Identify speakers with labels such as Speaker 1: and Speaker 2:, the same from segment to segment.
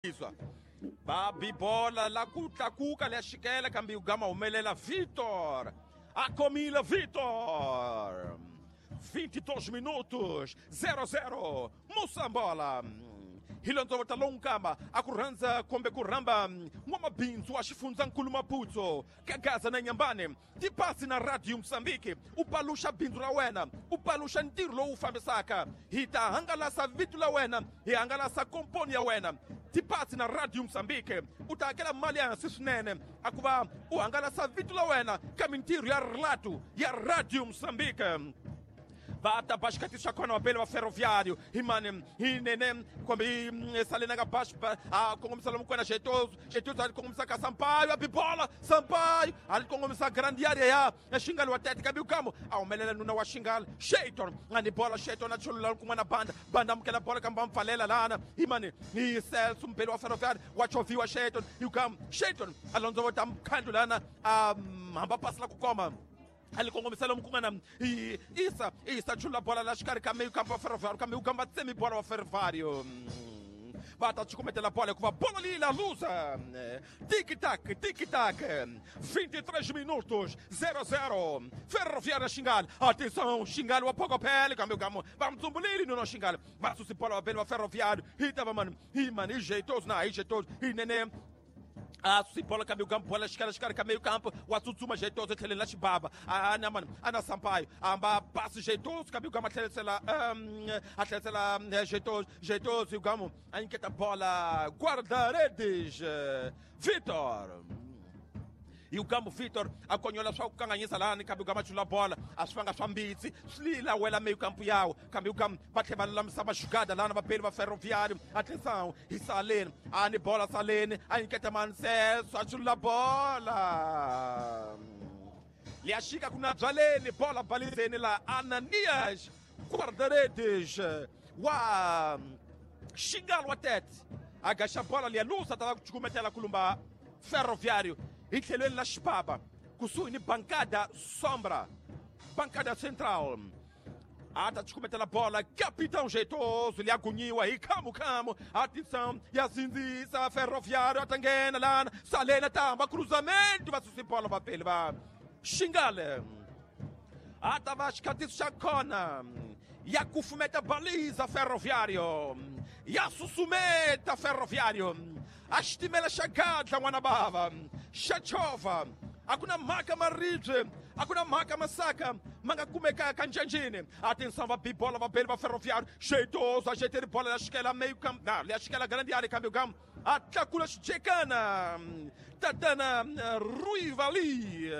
Speaker 1: Iswa va bi bola la ku tlakuka leya xikela kambe yi gama humelela Vitor a khomile Vitor. 22 minutos 00 Moçambola. Hi londzovota lowu nkamba a ku rhandza kumbe ku rhamba n'wamabindzu wa xifundzankulu Maputo ka Gaza na Nyambane tipasi na Radio Mozambique u paluxa bindzu ra wena, u paluxa ntirho lowu fambisaka. Hi ta hangalasa vito la wena, hi hangalasa komponi ya wena. Tipasi na Radio Mozambique u ta hakela mali ya hansi swinene a ku va u hangalasa vito la wena ka mintirho ya rilatu ya Radio Mozambique. Va ta ba xikhathi xa kona vapeli va Ferroviário hi mani hi nene kumbe hi salena ka bax a kongomisa lomu kwena Xetoso. Xetoso a kongomisa ka Sampaio, a bibola Sampaio a li kongomisa grande area ya Xingali wa Tete, kambe ukamo a humelela nuna wa Xingali Shayton a ni bola. Shayton a chulula kun'wana banda banda amukela bola kambe va pfalela lana hi mani hi Celso mpeli wa Ferroviário wa chovhiwa Shayton. Ukamo Shayton a londzovota mkhandlu lana a hamba pasi la ku koma a li kongomisa lomu ku nga na Isa. Isa chula bola la xikarhi ka meyu kampa wa Ferroviário, kambe ukamba tsemi bola wa Ferroviário va ta cucumetela bola hikuva bola leyi la luza. Tic tac tic tac. 23 minutos 00 Ferroviário Xingali. Atenção, Xingali wa Pocopele, kambe ukamo va mtsumbulile nuno Xingali va susi bola vapeli va Ferroviário. Hi ta va mani hi mani hi jeitoso na hi jeitoso hi nene a susi bola kambe ukambo bola xikarhi xikarhi ka meio campo wa tsutsuma jeitoso etlheleni la xibaba ana mani ana Sampaio amba pasi jeitoso kambe ukamo a tlhelisela a tlhelisela jeitoso. Jeitoso ukamo a nyiketa bola guarda-redes Vitor. Hi ukambo Vitor a konyola swa ku kanganyisa lani kambe ukama chula bola a swi vanga swa mbitsi swi lila wela meio campo yawo, kambe ukam va tlhela va lulamisa maxugada lana vapeli va Ferroviário. Atenção, hi Saleni a ni bola Saleni a nyiketa Manseso a chula bola liya xika ku na byaleni bola balizeni la Ananias guarda-redes wa Xingali wa Tete a gaxa bola liya lusa ta va ku cukumetela kulumba Ferroviário hi tlhelweni la xibaba kusuhi ni bancada sombra, bancada central. A ta cukumetela bola capitão jeitoso liya gunyiwa hi khamu khamu. Atenção, ya sindzisa Ferroviário a ta nghena lana Salena tamba cruzamento va susi bola vapeli va Xingale. A ta va xikhatiso xa kona ya kufumeta baliza Ferroviário ya susumeta Ferroviário a xitimela xa gadla n'wana bava xa chovha. A ku na mhaka maribye, a ku na mhaka masaka ma nga kumekaka njanjini. Atenção, va bibola vapeli va Ferroviário. Jeitoso a jeiteri bola ya xikela meio campo na ya xikela grande área, kambe ukamo a tlakula xijekana tatana Rui Vali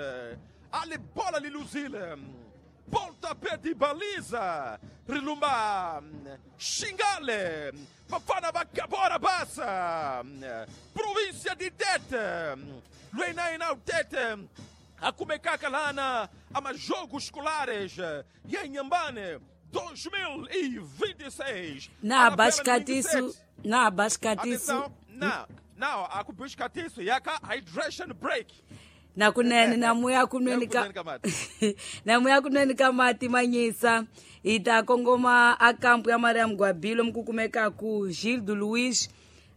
Speaker 1: ali bola li luzile pontapé de baliza rilumba Xingale vafana va Cabora Bassa, província de Tete. Lweinaina Tete a kumekaka lana ama jogos escolares ya Inhambane 2026.
Speaker 2: Na bascatiço, na bascatiço.
Speaker 1: Na now akubishkatiso yaka hydration break.
Speaker 2: Nakunene namuya kunweni ka namuya kunweni ka mati manyisa hi ta kongoma a kampu ya Mariam Gwabilo mi ku kumekaku Gildo Luiz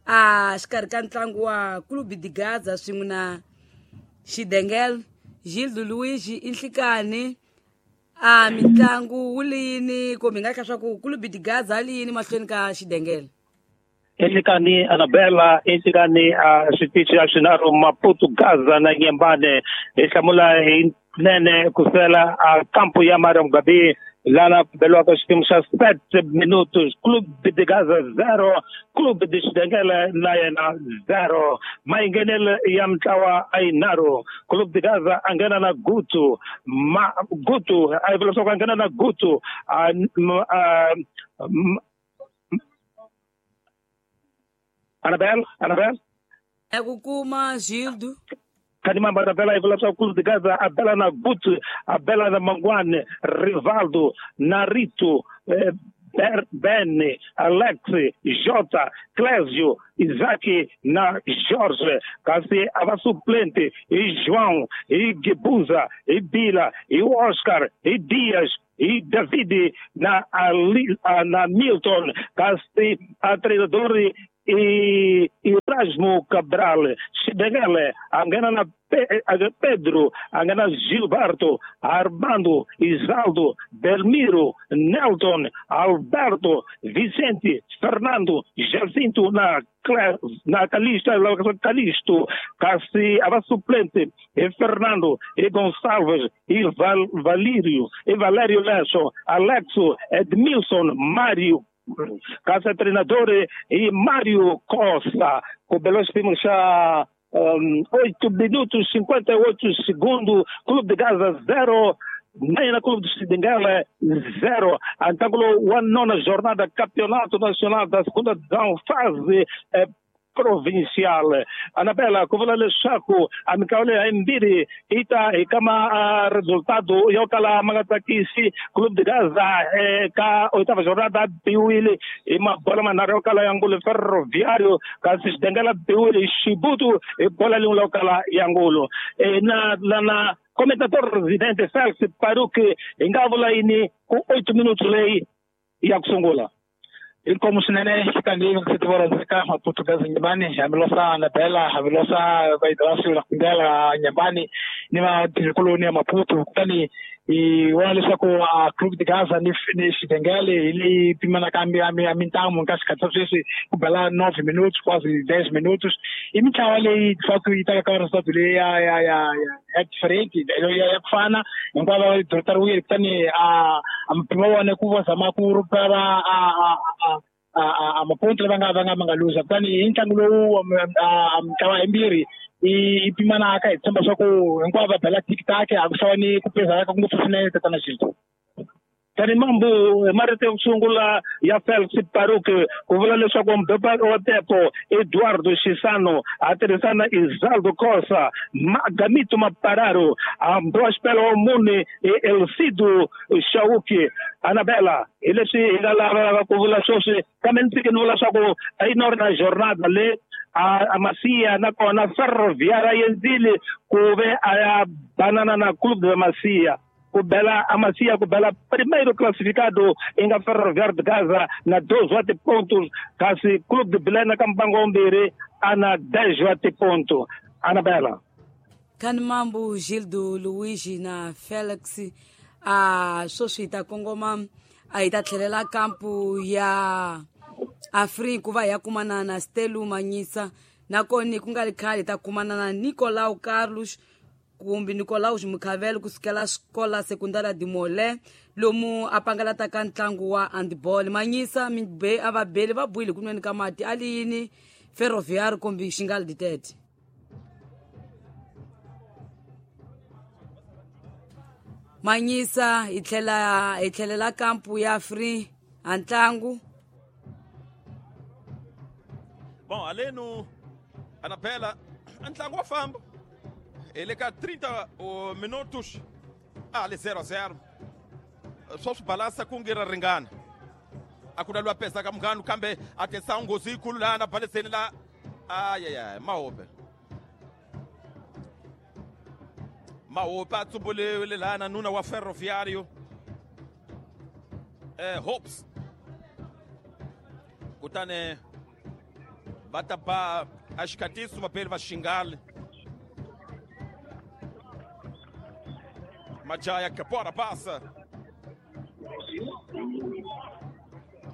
Speaker 2: a xikarhi ka ntlangu wa Clube de Gaza swin'we na Xidengel. Gildo Luiz i nhlikani a mitlangu wu liyini kumbe hi nga tlha swa ku Clube de Gaza a liyini mahlweni ka Xidengel?
Speaker 3: Enhlikani Anabela, enhlikani a switichi a swinharhu Maputo, Gaza na Nyembane. Hi hlamula hi nene kusela a kampu ya Mariam Gabi lana ku beliwaka xikimu xa 7 minutos, Clube de Gaza 0, Clube de Xidengele na yena 0. Mayinghenelo ya mintlawa a yinharhu. Clube de Gaza a nghena na Gutu ma Gutu a yi vula leswaku a nghena na Gutu a, a, Anabel, Anabel.
Speaker 2: Ya ku kuma Gildo.
Speaker 3: Khanimamba Anabela, yi vula leswaku Clube de Gaza a bela na Gutu, a bela na Mangwane, Rivaldo, Narito, Ben, Alex, Jota, Clésio, Isaac na Jorge. Kasi a va suplente i João, i Gebuza, i Bila, i Oscar, i Dias, i David na, Ali, na Milton. Kasi a treinador i Erasmo Cabral, Xidengele a nghena na Pedro, a nghena Gilberto, Armando, Isaldo, Belmiro, Nelton, Alberto, Vicente, Fernando, Jacinto na na Calixto, Calixto, kasi a va suplente e Fernando, e Gonçalves, e Valério, e Valério Lesso, Alexo, Edmilson, Mário, kasi treinador e Mário Costa, com belo já 8 minutos 58 segundos, Clube de Gaza 0, na Clube de Xidengele 0. Antangulo a nona jornada Campeonato Nacional da segunda divisão, fase provincial. Anabela, kuvula leswaku a minkarhi leyi yimbirhi yi ta hi kama resultado yo kala ma nga tsakisi. Clube de Gaza eka oitava jornada biwile hi mabola manharhu yo kala ya ngulu Ferroviário, kasi Xidengele biwile hi Xibutu hi bola lin'we yo kala ya ngulu. Na comentator residente Felix Paruki hi nga vula yini ku 8 minutos leyi ya ku sungula?
Speaker 4: Inkomo swinene xikandziyisa ku Maputo Gaza Nyambani hambilosa Anabela hambilosa Vaidrasi la Kundela Nyambani ni vatirhikuloni ya Maputo kutani hi vona leswaku a Clube de Gaza ni Xidengele hi leyi pimanaka mintamu ka xikhathi xa sweswi ku bela 9 minutos quase 10 minutos i mitlawa leyi leswaku yi ta ka resultado leyi ya different ya ku fana hinkwavo va dorotariwile kutani a mpimo wa wona ku va zama ku rupera a maponto lava nga luza kutani hi ntlangu lowu a mitlawa yimbirhi i pimanaka hi tshemba swa ku hinkwavo va bela tiktak a ku xava ni ku pezaka ngopfu swinene tatana Xintu.
Speaker 3: Tani mambu marito yo sungula ya Felix Paruki ku vula leswaku mdopa wa Tepo Eduardo Chisano a tirhisana Isaldo Costa Magamito Mapararo Ambrose Pelo Mune e Elcido Shauki. Anabela hi leswi hi nga lavaka ku vula sweswi kambe ni tshike ni vula swa ku i nona jornada le a Masia nakona Ferroviária yenzile ku ve a ya banana na Clube de Masia ku bela a Masia ku bela primeiro classificado inga Ferroviário de Gaza na 12 pontos kasi Clube de Belém ka mbango mbirhi ana 10 pontos. Anabela
Speaker 2: Kanimambu Gildo Luigi na Felix a sweswi hi ta kongoma a hi ta tlhelela kampu ya Afrika ku va hi ya kumana na Stelu Manyisa nakona ku nga ri khale hi ta kumana na Nicolau Carlos kumbe Nicolaus Mukhavelo kusukela xikola sekundara de Molé lomu a pangalataka ntlangu wa handball. Manyisa mi a va beli va buile ku nweni ka mati a li yini Ferroviário kumbe Xingali ditete. Manyisa hi tlhela hi tlhelela kampu ya Free a ntlangu.
Speaker 1: Bom, aleno Anabela ntlangu wa famba ele ka 30 minutos ali 0-0 só swi balansa ku nge ra ringana a ku na lwa pesaka munghanu kambe a tesa nghozi yikulu laha na baleseni la ayaya mahope mahope a tsumbulile laha na nuna wa Ferroviário Hopes kutani va ta ba a xikatiso vapeli va Xingali Majaya Kapora passa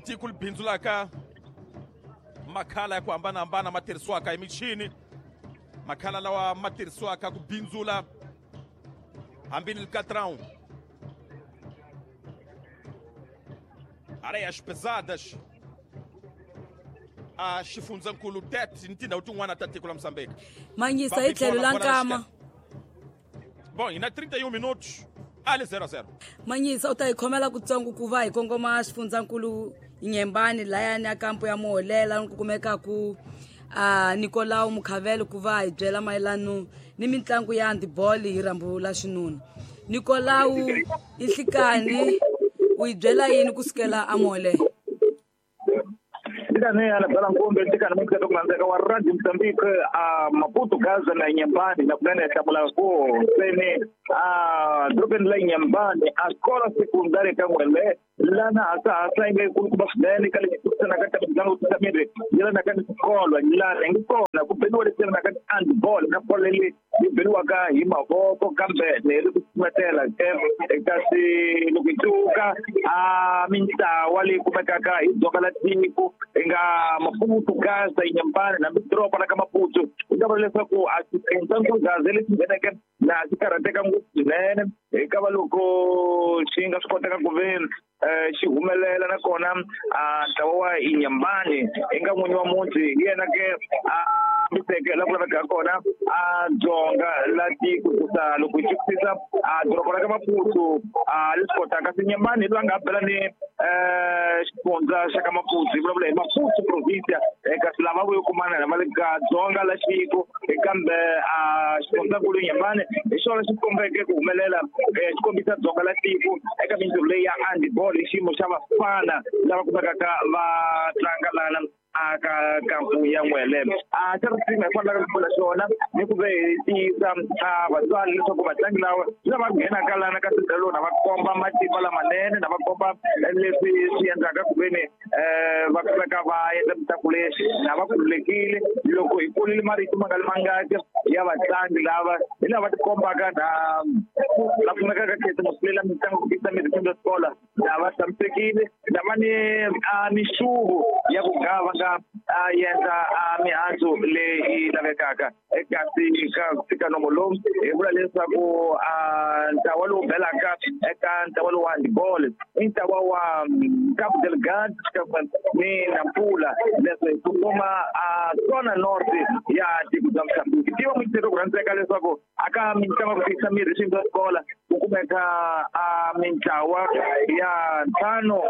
Speaker 1: tiko li bindzulaka makhala ya ku hambanahambana ma tirhisiwaka hi michini makhala lawa ma tirhisiwaka ku bindzula hambi ni likatrão areias pesadas a xifundzankulu Tete ni tindhawu tin'wana ta tiko la Mozambique.
Speaker 2: Manyisa hi tlhelo la nkama.
Speaker 1: Bom, e na 31 minutos ali 0-0.
Speaker 2: Manyisa u ta hi khomela kutsongo ku va hi kongoma xifundzankulu Nyembani layani ya kampu ya Muholela ku kumeka ku Nicolau Mukhavelo ku va hi byela mayelano ni mitlangu ya handball hi rhambu la xinuna. Nicolau Ihlikani u hi byela yini kusukela a Muholela?
Speaker 5: Ndikane Anabela Nkumbe ndikane mukata kulandzeka wa Radio Mozambique a Maputo Gaza na Nyambani na kunene hlamula ku sene a dorobeni la Nyambani a xikola sekundari ka N'wele lana hasa yi nga yikulukumba swinene ka leswi tirhisanaka ka mitlangu ya miri yi lana ka ni swikolo lana yi kona ku beliwa leswi vitanaka handball na bolo leyi yi beliwaka hi mavoko kambe leri ku tsumetela kasi loko hi tluka a mintlawa leyi kumekaka hi dzonga la tiko yi nga Maputo Gaza Inhambane na doroba la ka Maputo hi nga vula leswaku a xiendla Gaza lexi ngheneke laha xi karhateka ngopfu swinene hikava loko xi nga swi koteka ku ve xi humelela nakona ntlawa wa Inhambane i nga n'winyi wa muti hi yena ke a fambiseke la ku lavekaka kona a dzonga la tiko kusa loko hi twisisa a doroba ra ka Maputo a leswi kotaka kasi Inhambane hi loyi a nga bela ni xifundza xa ka Maputo hi vulavula hi Maputo provincia kasi lava vo yo kumana na va le ka dzonga la tiko kambe a xifundzankulu Inhambane hi xona xi kombeke ku humelela xi kombisa dzonga la tiko eka mintirho leyi ya handball hi xiyimo xa vafana lava kumekaka va tlanga lana aka kampu ya N'wele a xa risimu hi fanelaka ku vula xona ni ku ve hi tiyisa vatswari leswaku vatlangi lava lava nghenaka lana ka sindelo na va komba matimba lamanene na va komba leswi swi endlaka ku veni va kumeka va endla mitlangu leyi na va khululekile loko hi kulile marito ma nga li mangaki ya vatlangi lava hi lava tikombaka na la kumekaka khetsa masilela mitlangu ku tisa mirhi kumbe swikola na va tshamisekile na va ni mixuvo ya ku gava nga endla mihandzu leyi lavekaka kasi ka fika nomo lowu hi vula leswaku ntlawa lowu belaka eka ntlawa lowu wa handball i ntlawa wa Cabo Delgado ni Nampula leswi hi kongoma Zona North ya tiko bya Mozambique tiva muyingiseri ku rhandzeka leswaku aka mitlangu ya ku tiyisa mirhi swiyimo swa swikola ku kumeka mintlawa ya ntlhanu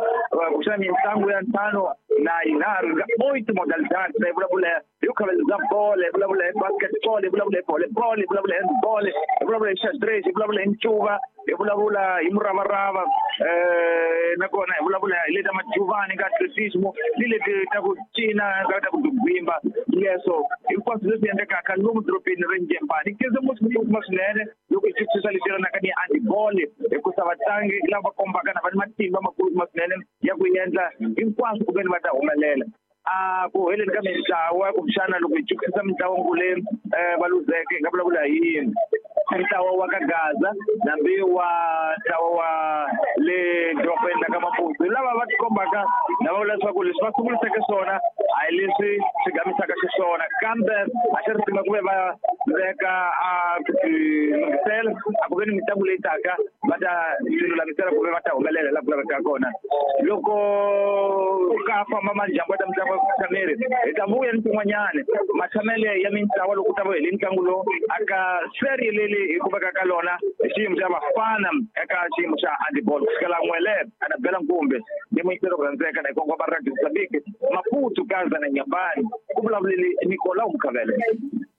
Speaker 5: kuxana mitlangu ya ntlhanu na yinharhu nga oito modalidades hi vulavula hi khaveleza bolo hi vulavula hi basketball hi vulavula hi volleyball hi vulavula hi handball hi vulavula hi xadrez hi vulavula hi ncuva hi vulavula hi muravarava nakona hi vulavula hi leta majuvani ka atletismo ni leti ta ku cina ka ta ku dugwimba leswo hinkwaswo leswi endlekaka lomu dorobeni ra Inhambane keze musi swinene loko hi twisisa leswi yelanaka ni handball hikusa vatlangi lava kombaka na va ni matimba makulu swinene ya ku endla hinkwaswo ku veni va ta humelela a ku heleni ka mintlawa kumbexana loko hi twisisa mitlawa leyi va luzeke hi nga vulavula hi ntlawa wa ka Gaza nambi wa ntlawa wa le dorobeni la ka Maputo lava va tikombaka na va vula leswaku leswi va sunguriseke swona a hi leswi swi gamisaka xiswona kambe a xi ri tima ku ve va veka a ku tilunghisela a ku ve ni mitlangu leyi taka va ta tilulamisela ku ve va ta humelela laha ku lavekaka kona loko ka famba majambu ya ta mitlangu ya kutshameri hi ta vuya ni tin'wanyani matshamele ya mintlawa loko ta va hele ntlangu lowu aka serie leyi hi kumekaka lona hi xiyimo xa vafana eka xiyimo xa handball kusukela N'wele Anabela Nkumbe ni muyingiseri ku rhandzeka na hi kongoma Radio Mozambique Maputo Gaza na Inhambane ku vulavuleli Nicolau Mukhavele.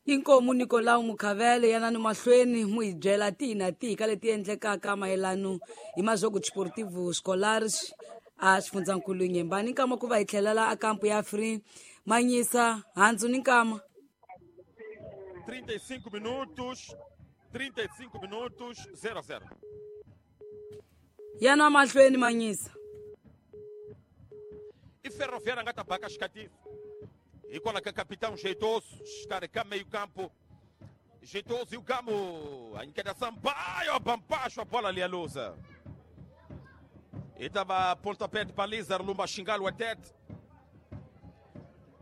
Speaker 2: Inkomu Nicolau Mukhavele yanani mahlweni mu hi byela tihi na tihi ka leti endlekaka mayelano hi Majogo Desportivo Escolares a xifundzankulu Inhambane nkama ku va hi tlhelela a kampu ya Free Manyisa handzu ni nkama
Speaker 1: 35 minutos 35 minutos 0-0.
Speaker 2: Yana mahlweni Manyisa.
Speaker 1: E Ferroviária nga ta baka xikatisi. Hikwalaho ka capitão jeitoso, xikarhi ka meio campo. Jeitoso e o Gamo. A enqueda Sampaio, bampacho a bola ali a luza. E tava pontapé de baliza, Lumba Xingalo a tete.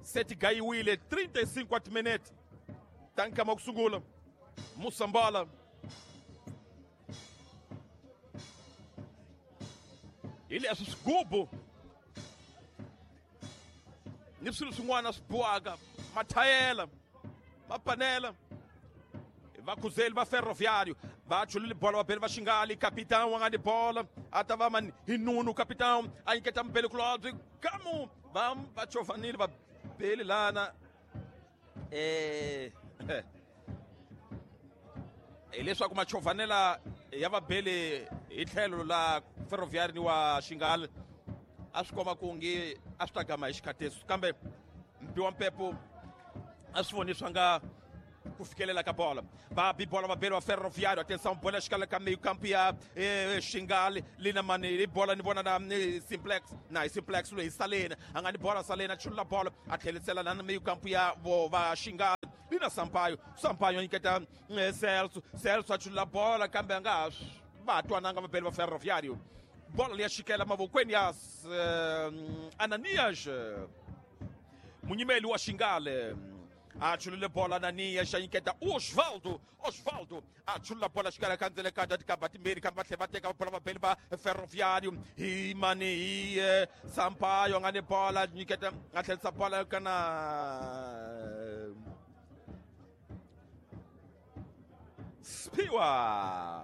Speaker 1: 7 Gai Wille, 35 minutos. Tanka Moksungula. Moçambola. Ele é sigubu. Ni swilo swin'wana swi bohaka mathayela mapanela vakhuzeli va Ferroviário va chulile bola vabeli va Xingali capitão a nga ni bola a ta va mani hi nunu capitão a nyiketa mubeli kulobye kamu va va chovanile va beli lana hileswaku machovanela ya vabeli hi tlhelo la Ferroviário ni wa Xingali a swi komba ku nge a swi ta gama hi xikhateso kambe mpi wa mpepo a swi voni swa nga ku fikelela ka bola va bi bola vabeli va Ferroviário atenção bola xikala ka meio campo ya Xingali lina mani hi bola ni vona na simplex na hi simplex loyi Salena a nga ni bola Salena chulula bola a tlhelisela na meio campo ya vo va Xingali Lina Sampaio, Sampaio nyiketa Celso, Celso a chula bola kambe a nga ha va twananga vabeli va Ferroviário. Bola leyi ya xikela mavokweni ya Ananias, munyimeli wa Xingale. A chulule bola Ananias a nyiketa Osvaldo, Osvaldo a chulula bola xikala ka ndzele ka tikamba timbirhi kambe va tlhela va teka bola vabeli va Ferroviário hi mani hi Sampaio nga ni bola nyiketa a tlherisa bola kana Spiwa.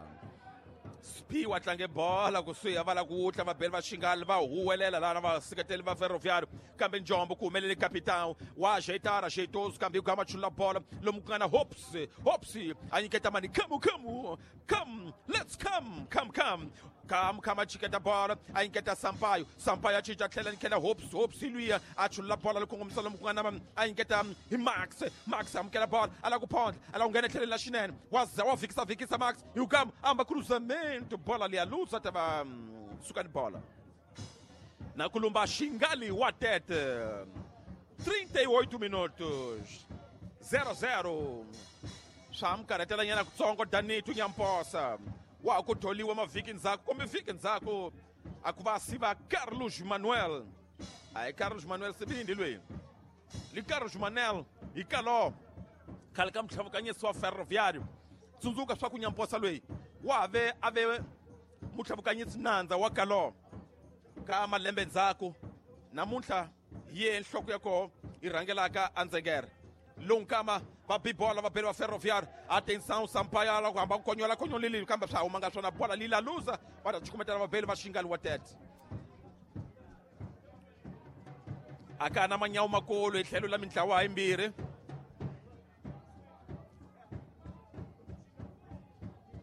Speaker 1: Spiwa tlange bola kusuhi va la ku wutla vabeli va Xingale va huwelela lana va seketeli va Ferroviário kambe Njombo ku humelele capitão wa ajeitara jeitoso kambe ku gama chula bola lomu ku nga na Hops, Hops a nyiketa mani come come come let's come come come come come a chiketa bola a nyiketa Sampaio, Sampaio a cinca tlhela nyikela Hops, Hops luya a chula bola loko kongomisa lomu ku nga na a nyiketa hi Max, Max amukela bola a la ku phondla a la ku nghena tlheleni la xinene wa za wa vikisa vikisa Max hi ku amba cruzamento bola liya luza ta va suka ni bola na kulumba Xingali wa Tete. 38 minutos 0-0 swa mi nyana kutsongo Danito Nyamposa wa ku tholiwa mavhiki ndzhaku kumbe vhiki ndzhaku a ku va siva Carlos Manuel. A Carlos Manuel Sibindi lweyi li Carlos Manuel hi kalo khale ka mutlhavukanyisi wa Ferroviário. Tsundzuka swa ku Nyamposa lweyi wa ve a ve mutlhavukanyisi nandza wa kalo ka malembe ndzhaku namuntlha hi ye nhloko ya koho yi rhangelaka andzengere lonkama va bibola va beli va Ferroviário. Atenção Sampaio la ku hamba ku konyola konyolile kambe swa humanga swona bola lila luza va ta chukumetela vabeli va Xingali wa Tete. A ka na manyawu makulu hi tlhelo la mintlawa yimbirhi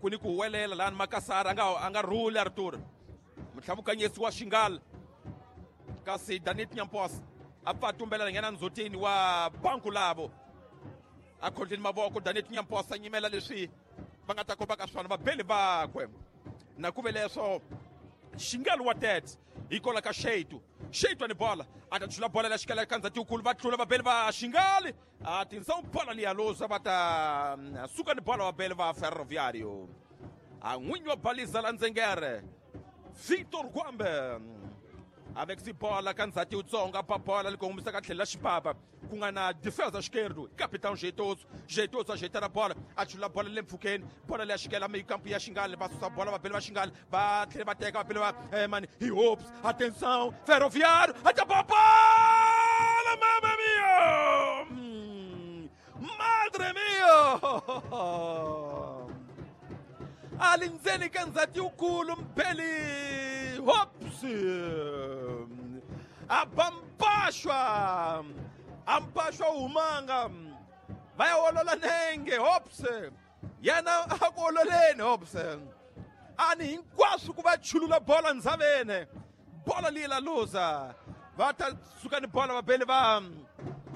Speaker 1: ku ni ku huwelela lani Makasara a nga rhuli Arthur mutlhavukanyisi wa Xingale kasi Danit Nyamposa a pfa tumbela nghena ndzhutini wa banku lavo a khondleni mavoko Danit Nyamposa nyimela leswi va nga ta kombaka swona vabeli vakwe na ku ve leswo Xingali wa Tete hi kola ka Xeitu, Xeitu ni bola a ta chula bola la xikela ka ndzhati wukulu va tlula vabeli va Xingali a tinsa bola liya luza va ta suka ni bola vabeli va Ferroviário. A n'winyi wa baliza la ndzengere Victor Gwambe avec si bola ka ndzhati wutsongo pa bola li kongomisa ka tlhelo la xipapa ku nga na defensa xikerdu capitão Jeitoso, Jeitoso a jeita na bola a chula bola le mpfhukeni bola leya xikela meyikampu ya Xingali va susa bola vabeli va Xingali va tlhela va teka vabeli va mani hi Hopes. Atenção Ferroviário ata bola mamma mia madre mia ali ndzeni ka ndzhati wukulu mbeli Hops abampashwa ampashwa humanga va ya olola nenge Hops yena a ku ololeni Hops ani hinkwaswo ku va chulula bola ndzhaveni bola liya la luza va ta suka ni bola vabeli va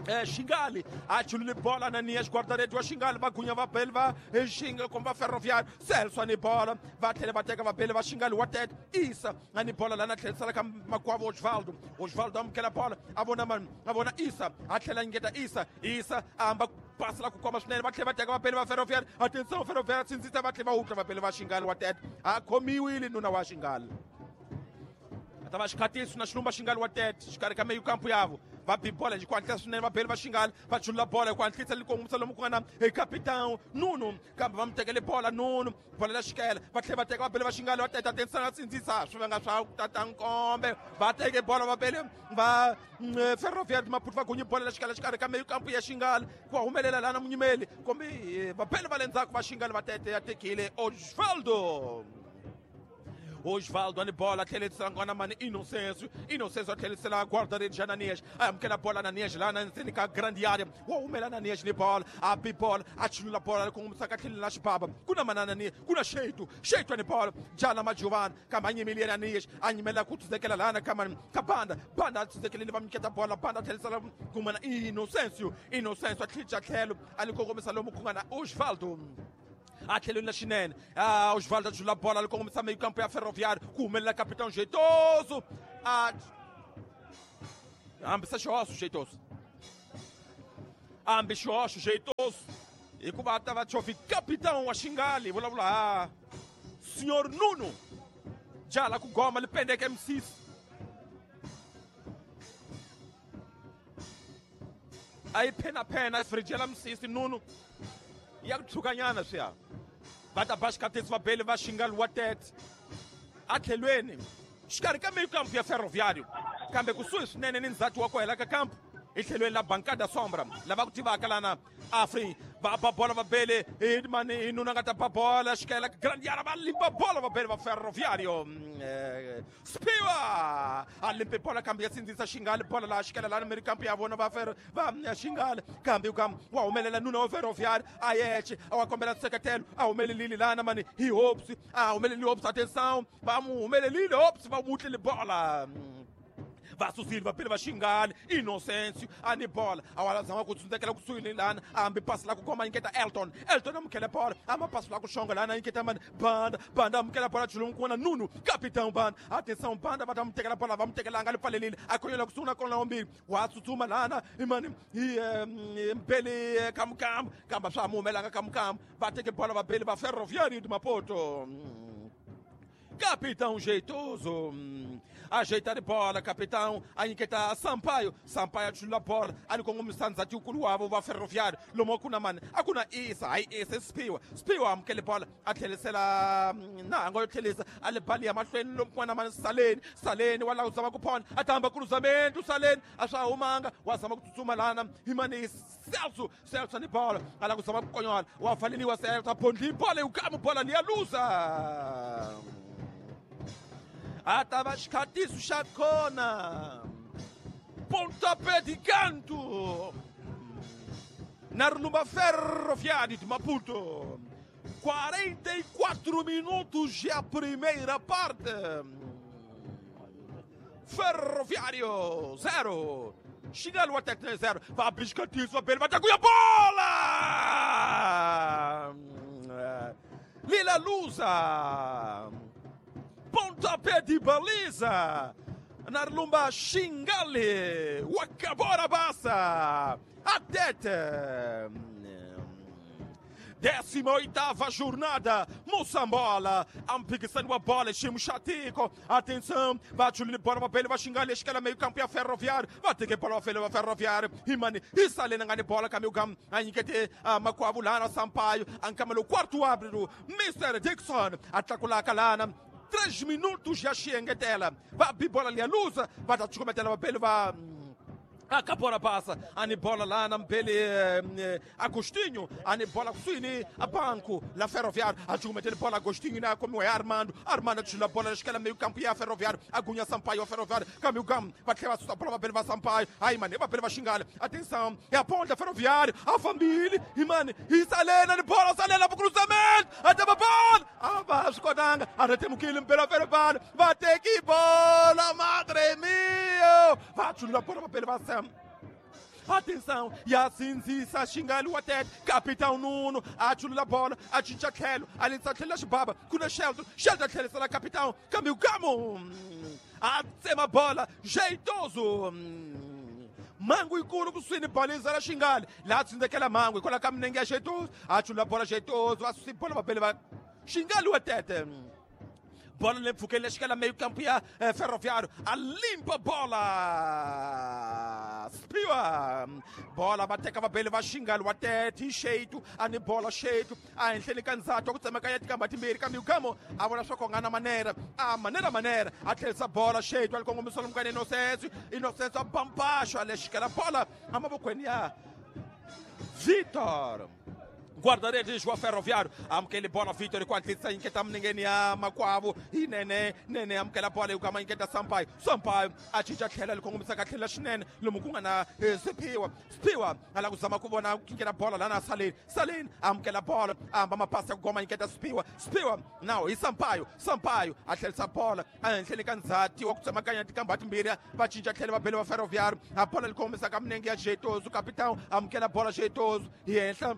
Speaker 1: Xingali a chulule bola Ananias guarda-redes wa Xingali va gunya vabeli va Xingali kumbe va Ferroviário. Celso ni bola va tlhela va teka vabeli va Xingali wa Tete Isa a ni bola lana tlherisela ka makwavo Osvaldo, Osvaldo amukela bola a vona mani a vona Isa a tlhela nyiketa Isa, Isa a hamba pasi la ku koma swinene va tlhela va teka vabeli va Ferroviário. Atenção Ferroviário sindzisa va tlhela va wutla vabeli va Xingali wa Tete a khomiwile nuna wa Xingali ta va xikhatiso na xilumba Xingali wa Tete xikarhi ka meyikampu yavo va bi bola hi ku hatlisa swinene vabeli va Xingali va chulula bola hi ku hatlisa li kongomisa lomu ku nga na hi capitão Nuno kambe va mi tekele bola Nuno bola la xikela va tlhela va teka vabeli va Xingali va Tete atenção sindzisa swi vanga swa tata nkombe va teke bola vabeli va Ferroviário Maputo va gunyi bola la xikela xikarhi ka meyikampu ya Xingali ku humelela lana munyimeli kumbe vabeli va le ndzhaku va Xingali va Tete ya tekile Osvaldo. Osvaldo ani bola tlhelisela ngwana mani Inocêncio, Inocêncio a tlhelisela guarda-redes Ananias a amukela bola Ananias lana ndzeni ka grande área wa humela Ananias ni bola a bi bola a chulula bola kongomisa ka tlhelo la xibaba ku na mana Ananias ku na Xeitu, Xeitu ani bola jala Majovana kambe a nyimile Ananias a nyimela ku tuzekela lana ka mani ka banda banda a tuzekeleni va nyiketa bola banda a tlhelisela kumana Inocêncio, Inocêncio a tlhija tlhelo a li kongomisa lomu ku nga na Osvaldo a tlhelweni la xinene Osvaldo a chula bola li kongomisa meyikampu ya Ferroviário ku humelela capitão Jeitoso a hambisa xihoxo Jeitoso Hambi xihoxo jeitoso hikuva ta va chofi capitão wa Xingali vulavula ha Senhor Nuno jala ku goma li pendeke misisi a yi phenaphena a firijela misisi Nuno ya ku tshukanyana swiya va ta ba xikatisi va beli va Xingali wa tete a tlhelweni xikarhi ka meio campo ya Ferroviário kambe kusuhi swinene ni ndzhati wa ku hela ka kampo hi tlhelweni la Bancada Sombra lava ku tivaka lana Afri va ba bola va bele hi mani hi nuna nga ta ba bola xikela Grandiara va limpa bola va bele va Ferroviário Spiwa a limpe bola kambe ya sindzisa Xingali bola laha xikela lana miri kampo ya vona va Xingali kambe wa humelela nuna wa Ferroviário a yexe a wa kombela nseketelo a humelelile lana mani hi Hopes a humelelile Hopes atenção va mu humelelile Hopes va mutlile bola va susile va pele va Xingali Inocêncio ani bola a zama ku tsundzekela kusuhi ni lana hambi pasi la ku koma nyiketa Elton amukele bola ama pasi la ku xonga lana nyiketa mani Banda amukela bola chulumu kuona Nuno capitão Banda atenção Banda va ta mu tekela bola va mu tekelanga li pfalelile a khonyela kusuhi na kona wambili wa tsutsuma lana imani hi mbele kamukamu kamba swa mu humelanga kamukamu va teke bola va bele va Ferroviário de Maputo. Capitão jeitoso, ajeitar de bola, capitão, aí que tá Sampaio, Sampaio atula bola, ali com o Sanzati ukuluavo va Ferroviário, lomo kuna man, akuna isa, aí esse Spiwa, Spiwa amukele bola, atlhelisela na ngo tlhelisa, ale bali ya mahlweni lomo kuna man Saleni, Saleni wala uzama kuphona, atamba cruzamento Saleni, asha umanga, wazama kutsutsuma lana, imani Celso, Celso ni bola, ala kuzama kukonyola, wafaliliwa Celso, aphondli bola, ukamu bola liyaluza. Atava xikatiso xa kona pontapé de canto na Rumba Ferroviário de Maputo. 44 minutos já a primeira parte. Ferroviário 0, Xingali até 0. Vai biscatiço, vai vai a bola! Lila Lusa. Pontapé de baliza Narlumba Xingali Wakabora Bassa Atete. 18ª jornada, Moçambola, ampikisani wa bola, ximo xatiko, atenção, bate o bola, papel, vai xingar, escala meio campo e a Ferroviário, vai ter que bola, vai Ferroviário, e mani, e salena ngani bola, caminho gam, aí que te, Macuavulana, Sampaio, ancamelo, quarto árbitro, Mr. Dixon, atacula calana, 3 minutos já xengetela, vai bola ali a luz, vai dar descometela, papel, vai. Acabora passa, ani bola lá na mbele Agostinho, ani bola kusuini a banco, la Ferroviário, a metele bola Agostinho na como é Armando, Armando tira bola escala meio campo e a Ferroviário, Agunha Sampaio, a Ferroviário, caminho gam, vai levar sua bola para Sampaio, aí mano, vai para xingar, atenção, é a ponta Ferroviário, a família, e mano, e Salena de bola, Salena pro cruzamento, até a bola, abaixo Kodanga, até temos que ir pela Ferroviário, vai ter que bola, madre mia, vai tirar a bola para Sam. Atenção, e assim se xingali o até capitão Nuno, atula a bola, atinge aquele, ali está aquele baba, kuna Sheldon, Sheldon aquele será capitão, caminho gamo, a bola, jeitoso. Mango e curo kusuini baliza la xingali, lá se daquela mango, e coloca ninguém jeitoso, atula a bola jeitoso, a bola papel xingali o até. Bola lemfukele escala meio campo e Ferroviário, a limpa bola Spiwa, bola bateka babele va xingali wa tete xeitu ani bola xeitu a henhleni ka ndzhato wa ku tsemakanya tikamba timbirhi kambe ukamo a vona swa ku nga na manera a manera manera a tlherisa bola xeitu a li kongomisa lomukani Inocêncio, Inocêncio a bampaxo a lexikela bola amavokweni ya Vitor. Guarda-redes wa Ferroviário, amukele bola Vitor com a inquieta ninguém ya Makwavo e Nene, Nene amukela bola ukama inquieta Sampaio, Sampaio acinca tlhela likongomisa ka tlhela swinene lomu ku nga na Siphiwa, Siphiwa ala ku zama ku vona ku kinkela bola lana Saleni, Saleni amukela bola amba mapasi ya ku goma inquieta Siphiwa, Siphiwa now hi Sampaio, Sampaio a tlherisa bola ehenhleni ka ndzhati wa ku tsemakanya tikamba timbirhi va cinca tlhela va bele va Ferroviário, a bola likongomisa ka minenge ya Jeitoso, capitão amukela bola Jeitoso hi henhla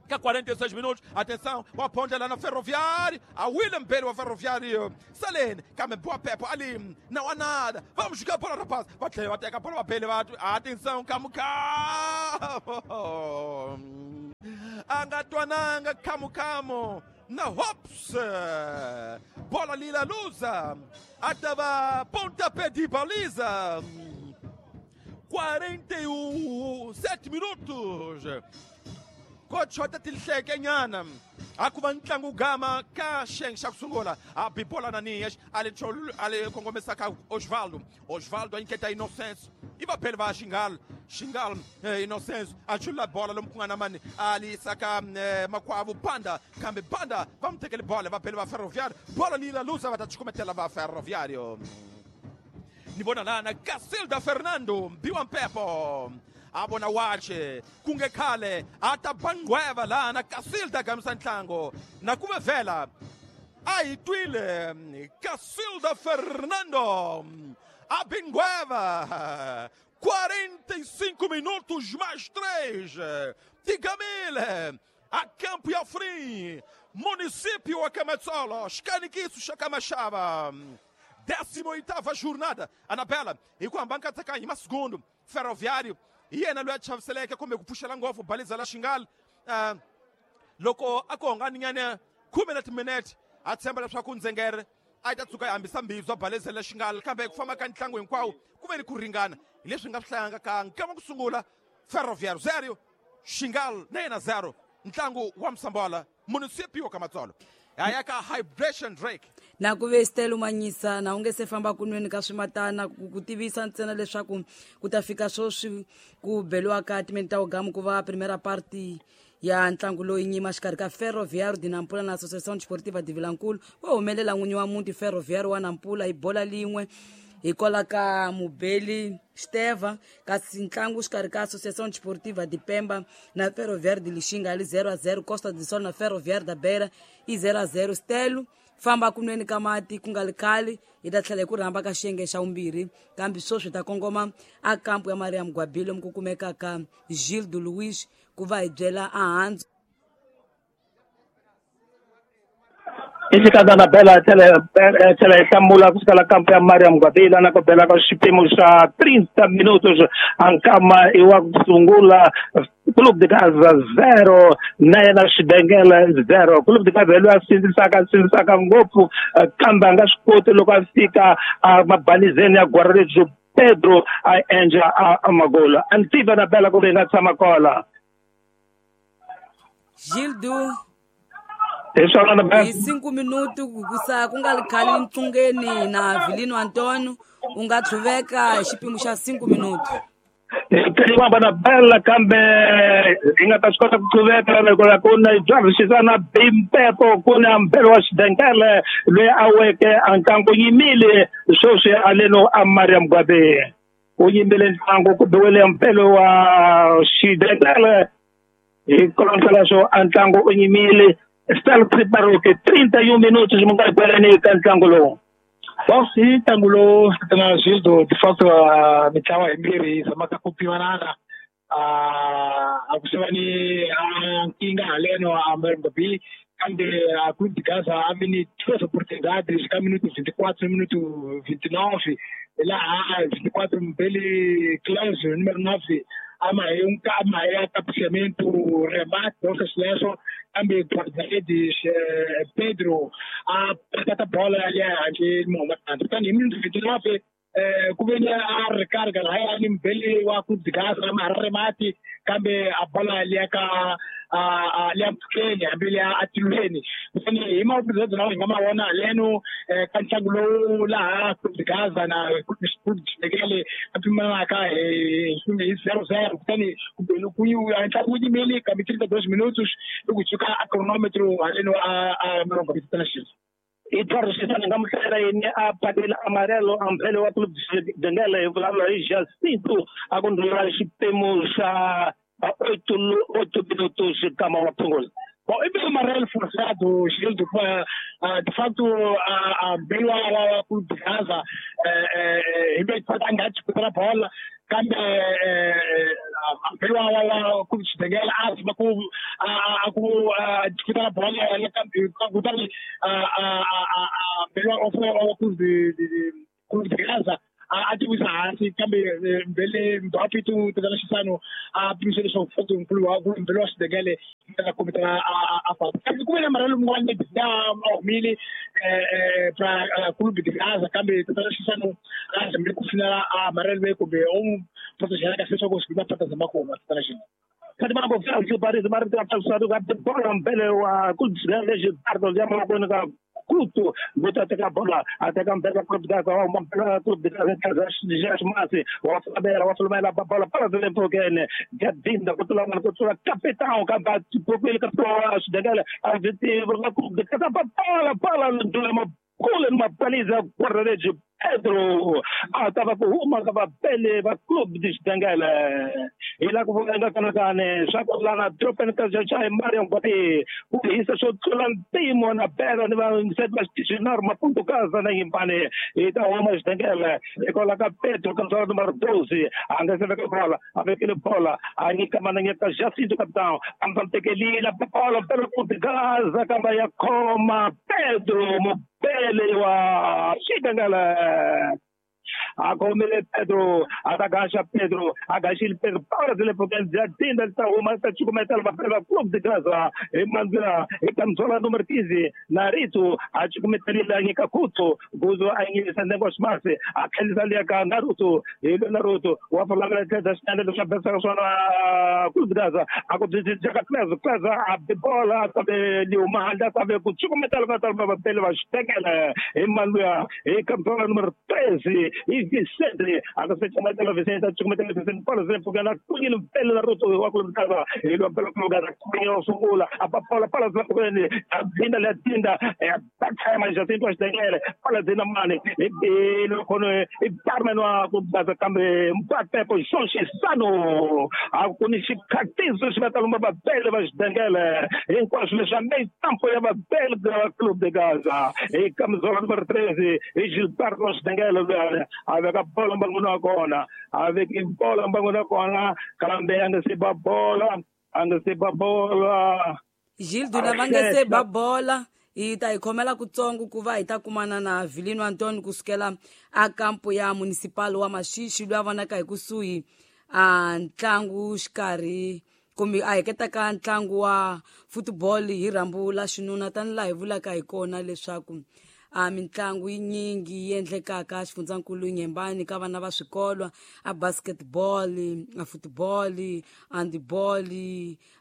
Speaker 1: Ka 46 minutos, atenção, o aponta lá na Ferroviário, a William Bell, o Ferroviário, Salene, kambe boa Pepo ali, não há nada, vamos jogar bola, rapaz, vai ter a bola, Bell, atenção, Camu Camu, Angatwananga, Camu Camu, na Hops, bola lila lusa, atava pontapé de baliza, 47 minutos. Kochota tilhleke nyana a ku va ntlangu gama ka xiyenge xa ku sungula a bibola na Nias a le kongomisa ka Osvaldo. Osvaldo a nyiketa Inocêncio i va pheli va Xingal Xingal Inocêncio a chula bola lomu ku nga na mani a li yisa ka makwavo Banda kambe Banda va n'wi tekele bola va pheli va Ferroviário bola lila lusa va ta cukumetela va Ferroviário ni vona lana Casilda Fernando Mbiwa Mpepo a vona wache kunge khale a ta bangweva lana Casilda gamisa ntlango na ku vela a hi twile Casilda Fernando a bingweva 45 minutos mais 3 Tigamile a Campo e Afrim município Akamatsolo Xikanikiso Xakamachava 18ª jornada Anabela e com a banca tsakanyi segundo Ferroviário hi yena loyi a chaviseleke kumbe ku pfuxela ngopfu baliza la Xingal loko a ku honganinyana 10 na timinete a tshemba leswaku Ndzengere a yi ta tshuka yi hambisa mbibya baliza la Xingal kambe ku famba ka ntlangu hinkwawo ku ve ni ku ringana hi leswi nga swi hlayanga ka nkama ku sungula Ferroviário 0 Xingal na yena 0 ntlangu wa Msambola municipio Kamatsolo ya ka Hydration Drake
Speaker 2: na ku ve Stelo Manyisa na u nge se famba kunweni ka swimatana ku tivisa ntsena leswaku ku ta fika sweswi ku beliwa ka timinete ta ugamu ku va primera party ya ntlangu loyi nyima xikarhi ka Ferroviário de Nampula na Associação Desportiva de Vilankulu wa humelela n'winyi wa muti Ferroviário wa Nampula hi bola lin'we hikwalaho ka Mubeli Steva kasi ntlangu xikarhi ka Associação Desportiva de Pemba na Ferroviário de Lixinga ali 0-0 Costa do Sol na Ferroviário da Beira i 0-0 Stelo famba kunweni ka mati ku nga li khale hi ta tlhela hi ku rhamba ka xiyenge xa vumbirhi kambe sweswi hi ta kongoma a kampu ya Maria Mugwabile lomu ku kumekaka Gildo Luiz ku va hi byela ahandzu
Speaker 3: Ixikadza na Bela tlhela hi hlamula ku suka la kampu ya Maria Mugwabila na ku bela ka xiphemu xa 30 minutos a nkama i wa ku sungula Clube de Gaza 0 na yena Xidengele 0. Clube de Gaza loyi a sindzisaka ngopfu kambe a nga swi koti loko a fika mabalizeni ya Guarulhos Pedro a endla a magolo. A ni tiva na Bela ku ri nga tshama kola.
Speaker 2: Gildo
Speaker 3: hi swona na Bela
Speaker 2: hi 5 minuto ku sa ku nga li khale ntlungeni na Vilino Antonio u nga tlhuveka hi xiphemu xa 5 minuto.
Speaker 3: Teliwamba na Bela kambe hi nga ta swi kota ku tlhuveka loko ku na Xisana Bimpepo ku na Mbelo wa Xidengele loyi a weke a ntlangu yimile sweswi aleno a Maria Mugwabe u yimile ntlangu ku biwile Mbelo wa Xidengele hi kolontlhela swo a ntlangu u yimile Stella Preparoke 31 minutos mi nga ri ka ntlangu lowu.
Speaker 4: Bom, i ntlangu lowu na Gildo de facto a mitlawa yimbirhi yi zamaka ku pimanana a ku se va ni nkingha haleno a Mozambique kambe a Clube de Gaza a vi ni duas oportunidades ka minuto 24 minuto 29 laha 24 Mbeli Clésio número 9 ama é cabeceamento remate nossa seleção kambe guarda-redes Pedro a pata bola ali aqui momento kutani hi minuto 29 ku ve ni a recarga lahaya ni Mbeli wa Clube de Gaza ma remate kambe a bola liya ka liya mpfhukeni hambi liya atilweni kutani hi maoportunidade lawa hi nga ma vona haleno ka ntlangu lowu laha Clube de Gaza na Clube de a pimanaka hi 0-0 kutani ntlangu wu yimile kambe 32 minutos loko hi suka a chronometro haleno a mirongo vitana xilo.
Speaker 3: Eduardo Xisana nga muhlayela yini a patela amarelo a Mbele wa Clube de Dengele hi vulavula hi Jacinto a ku ndlula xiphemu xa 8 minutos kama wa phungula.
Speaker 4: Bom, e amarelo forçado, Gildo, de facto, a Bela Clube de Gaza, em vez de fazer disputar a bola, kambe a Bela Clube de Benguela, a disputar a bola, kutani a Bela Clube de Gaza, a ti wisa hansi kambe mbele mbapi tu tala xisano a pimise leswaku foto nkulu wa ku mbele wa xidengele ta kombeta a fa kambe ku ve na maralo mun'wana ya humile pra clube de Gaza kambe tala xisano a zamile ku finala a maralo ve kumbe o protegela kahle leswaku swi va pata zamakoma tala xisano
Speaker 3: Kati mana ko fela Paris mara ta passado ka bola mbele wa clube de Gaza Gilberto ya mana ko Kuto, bota teka bola, ateka mbele clube de Gaza, o clube de Gaza, Masi, o Fabera, o Flumela, bola para de Lempogen, Gadinda, Kutula, Kutula, capitão, Kabati, Popil, Kutula, Degela, Argentina, clube de Gaza, bola, bola, Ndulema, Kulen, Mapaliza, guarda-redes, Pedro, tava com uma, tava pele, va clube de Xidengele. E lá com o Kanakane, lá na tropa na casa Mariam Guapi, o isso só timo na pedra, não sei mais que Maputo casa na Impane, e tá uma Xidengele, e coloca Pedro, cantor número 12, anda se vê bola, a ver aquele bola, a Nica Mananheta Jacinto capitão, a bola pelo clube de Gaza, Cambaia coma, Pedro, Mopele, wa Xidengele. A comele Pedro, agacha Pedro, agacha Pedro, para de porque já tem da uma tá te começar a pela clube de casa, e manda e camisola número 15, Narito, a te cometer lá em Kakuto, gozo aí em negócio mais, aqueles ali a Naruto, ele Naruto, o falar que da stand do cabeça só na clube de casa, a de casa, a bola sabe de uma anda sabe com te cometer a pela e manda e camisola número 13 e Vicente, a você chama de Vicente, chama de Vicente, por exemplo, que na cunha pelo Naruto, o clube de casa, ele pelo clube da cunha sungula, a papola para a vinda la tinda, é back já tem duas dele, para de na mane, ele com e parme no clube da casa também, bate com Sano, a conheci catizo se vai uma bela mas dele, enquanto le chamei tampo é uma bela clube de casa, e camisola número 13, e Gilberto Dengele avec a bola mbanguna kona, avec bola mbanguna kona, kalambe anga se ba bola, anga se ba bola.
Speaker 2: Gildo na vanga se ba bola, e ta ikhomela kutsongo kuva hi ta kumana na Vilino Antonio kusukela a kampo ya municipal wa Maxixi loyi a vonaka hi kusuhi a ntlangu xikarhi kumbe a heketa ka ntlangu wa football hi rhambu la xinuna tani laha hi vulaka hi kona leswaku a mintlangu yinyingi yi endlekaka xifundzankulu Nyembani ka vana va swikolo a basketball a football handball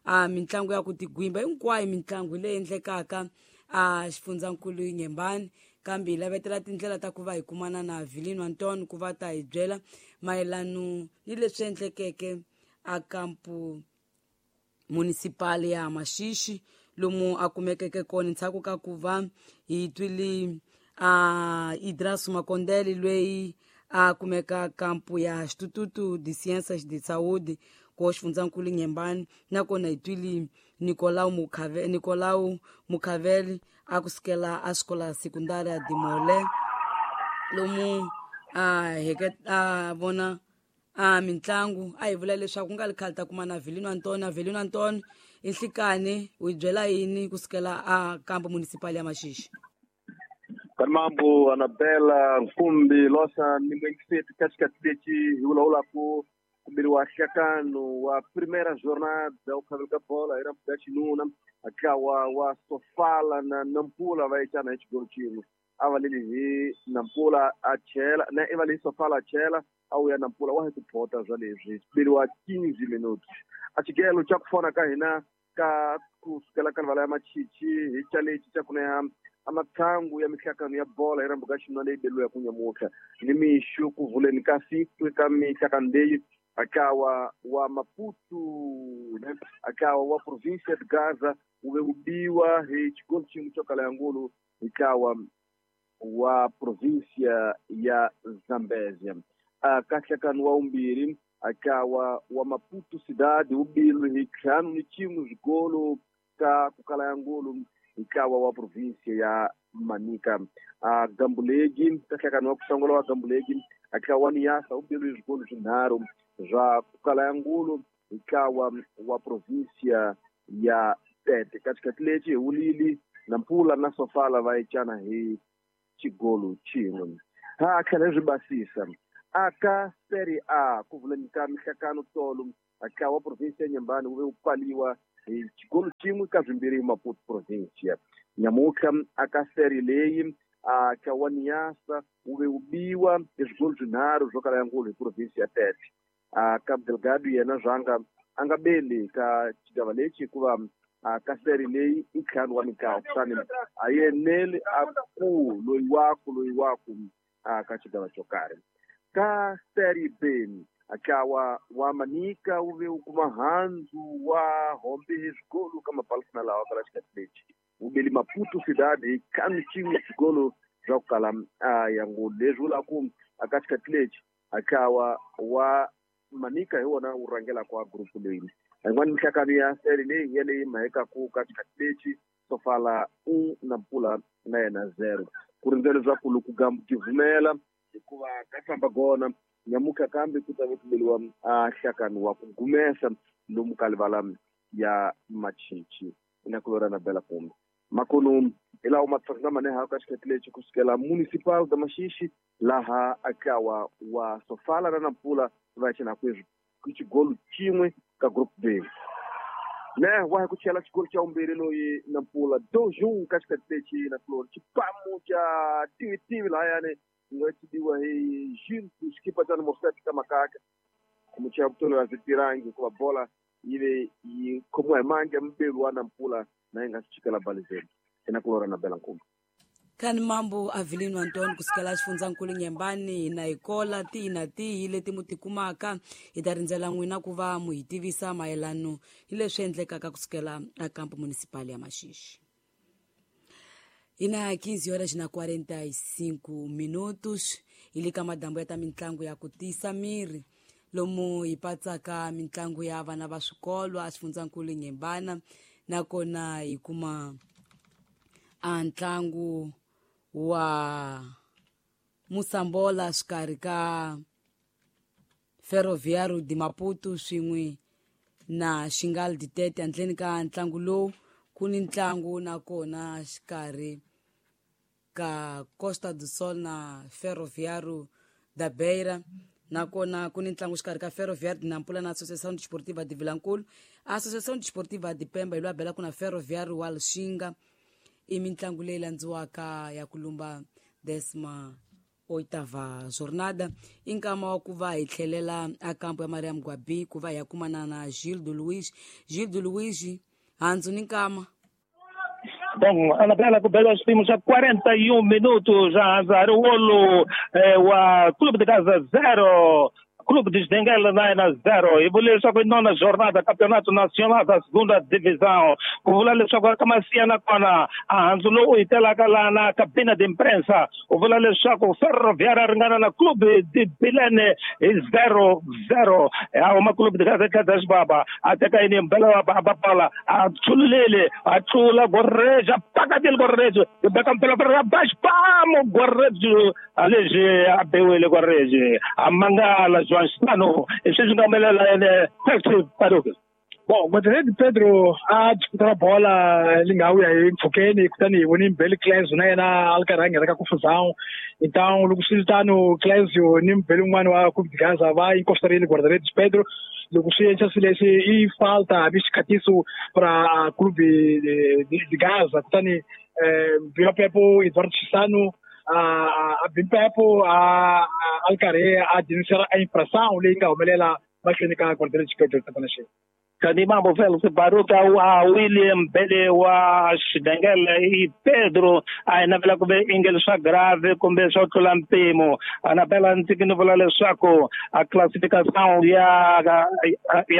Speaker 2: a mintlangu ya ku tigwimba hinkwayo mitlangu leyi endlekaka a xifundzankulu Nyembani kambe hi lavetela tindlela ta ku va hi kumana na Vilino Antonio ku va ta hi byela mayelano ni leswi endlekeke a kampu municipal ya Maxixi lomu a kumekeke kona ndzhaku ka ku va hi twile a Idraso Makondele loyi a kumeka kampu ya Instituto de Ciências de Saúde ko xifundzankulu Nyembani nakona hi twile Nicolau Mukhaveli a kusukela a xikola secundária de Molé lomu a a vona a mintlangu a hi vula leswaku ku nga li khale ta kuma na Vilino Antonio Vilino Antonio inhlikani u hi byela yini kusukela a kampo municipal ya Maxixi?
Speaker 6: Kanimambo Anabela Nkumbi Losa ni mwenyekiti katikati leti hi vulavulaku kumbiliwa nhlekano wa primeira jornada ukhavelo ka bola hi rambu ya xinuna ntlawa wa Sofala na Nampula va yecana hi xigolo xin'we a va leli hi Nampula a chela na i va lehi Sofala a chela a wuya Nampula wa hi ku phota swa leswi biliwa 15 minutos a xigelo xa ku fona ka hina ka kusukela ka rivala ya Machichi hi chaleci xa ku neha amathangu ya mihlakano ya bola hi rambu ka xinuna leyi beliwa ku nyamutlha ni mixo ku vuleni ka siku ka mihlakano leyi akawa wa Maputo ne akawa wa província de Gaza uve ubiwa hi xigolo xin'we xo kala ya ngulu ntlawa wa província ya Zambezia ka nhlekano wa vumbirhi akawa wa Maputo cidade wu bilwe hi 5-1 swigolo ka kukala ya ngulu ntlawa wa provinsia ya Manica. A Gambulegi nhlekano wa kusongola wa Gambulegi a ntlawa wa Niassa wu beliwe swigolo swinharhu swa kukala ya ngulu ntlawa wa provinsia ya Tete. Katikati lexi hi wulili Nampula na Sofala va ecana hi xigolo xin'we. Ha tlhela swi basisa aka Serie A ku vuleni ka mihlakano tolo ntlawa wa provinsia ya Nyambani wu ve wu pfaliwa hi xigolo xin'we ka swimbirhi hi Maputo provinsia. Nyamutlha aka Serie leyi ntlawa wa Niassa wu ve wu biwa hi swigolo swinharhu swo kala ya ngulu hi provinsia ya Tete. Cabo Delgado yena zwanga a nga beli ka xigava lexi hikuva ka Serie leyi i ntlhanu wa mitlawa kutani a yeneli a ku loyi waku ka xigava xo karhi. Ka Serie B ntlawa wa Manica wu ve wu kuma handzu wa hombe hi swigolo ka mapalosina lawa kala xikati lexi wu beli Maputo Cidade hi ntlhanu xin'we swigolo swa ku kala ya ngulu. Leswi vulaku aka xikati lexi ntlawa wa Manica hi wona wu rhangelaka wa group leyi. Yin'wana mihlakano ya Serie leyi yeleyi mhayekaku ka xikati lexi Sofala 1 Nampula na yena 0. Ku rindzela leswaku loko gambu ti vumela hikuva ka famba gona nyamuka kambe ku ta ve ku beliwa nhlakano wa ku gumesa lomu ka livala ya Machichi ina ku lora na bela kumbe makono hi lawa matsonga maneha ka xikati lexi kusukela municipal da Maxixe laha ntlawa wa Sofala na Nampula va cina ku xigolo xin'we ka group B. Ne wa ku chela xigolo xa vumbirhi loyi Nampula 2-1 ka xikati lexi na Flor xipamu xa tivi lahayani nga tiviwa hi Gil xikipa xa numero 7 ka Makaka muchaya vutolela switirangi hikuva bola yi ve yi khomiwa hi mandla mbelu wa Nampula na yi nga swi chikela balizeni ina ku lora na bela nkumba.
Speaker 2: Kani mambo Avelino Antonio kusukela xifundzankulu Nyembani na ikola tihi na tihi leti mu tikumaka hi ta rindzela n'wina ku va mu hi tivisa mayelano hi leswi endlekaka kusukela a kampo municipal ya Maxixe. Ina 15 horas na 45 minutos ili ka madambo ya ta mintlangu ya ku tisa miri lomu hi patsaka mintlangu ya vana va swikolo a xifundzankulu Nyembana nakona hi kuma a ntlangu wa Moçambola xikarhi ka Ferroviário de Maputo swin'we na Xingal de Tete. Handleni ka ntlangu lowu ku ni ntlangu nakona xikarhi ka Costa do Sol na Ferroviário da Beira, nakona ku ni ntlangu xikarhi ka Ferroviário de Nampula na Associação Desportiva de Vilankulu. Associação Desportiva de Pemba yi lwa bela ku na Ferroviário wa Lixinga. I mintlangu leyi landziwaka ya ku lumba 18ª jornada. I nkama wa ku va hi tlhelela a kampo ya Maria Mugwabi ku va hi ya kumana na Gildo Luiz. Gildo Luiz, handzu ni nkama.
Speaker 3: Bom, Anabela ku bela xipimo xa 41 minutos já Riolo wa Clube de Gaza 0 Clube de Xidengela 9-0. E vula leswaku i nona jornada Campeonato Nacional da Segunda Divisão. Ku vula leswaku ka Masiya nakona a handzu lowu hi telaka laha na cabina de imprensa u vula leswaku Ferroviário ringana na Clube de Bilene hi 0-0. A huma Clube de Gaza tlhela xibaba a teka yini mbela wa bapala a tshululele a tlula Gorreja pakatile Gorreja beka mpela ra bash pamo Gorreja alexi a bewile Gorreja a mangala João Stano, esses não me.
Speaker 4: Bom, Guarda-redes Pedro a disputar a bola lingawi aí mpfukeni kutani voni mbeli Clésio na yena a ri karhi a nghena ka confusão. Então loko swi tano Clésio ni mbeli un'wana wa Clube de Gaza va encostarile Guarda-redes Pedro. Loko swi endla swilo leswi i falta hambi xikhatiso para Clube de Gaza kutani Mbila Pepo Eduardo Chisano a Bimpepo a ri karhi a denunciar a infração leyi nga humelela mahlweni ka Guarda-redes Pedro Tapanexi.
Speaker 3: Kani mambo Félix Baruka wa William Bele wa Xidengele i Pedro a navela kumbe inge swa grave kumbe swa tlula mpimo. Anabela ndzi ni vula leswaku a classificação ya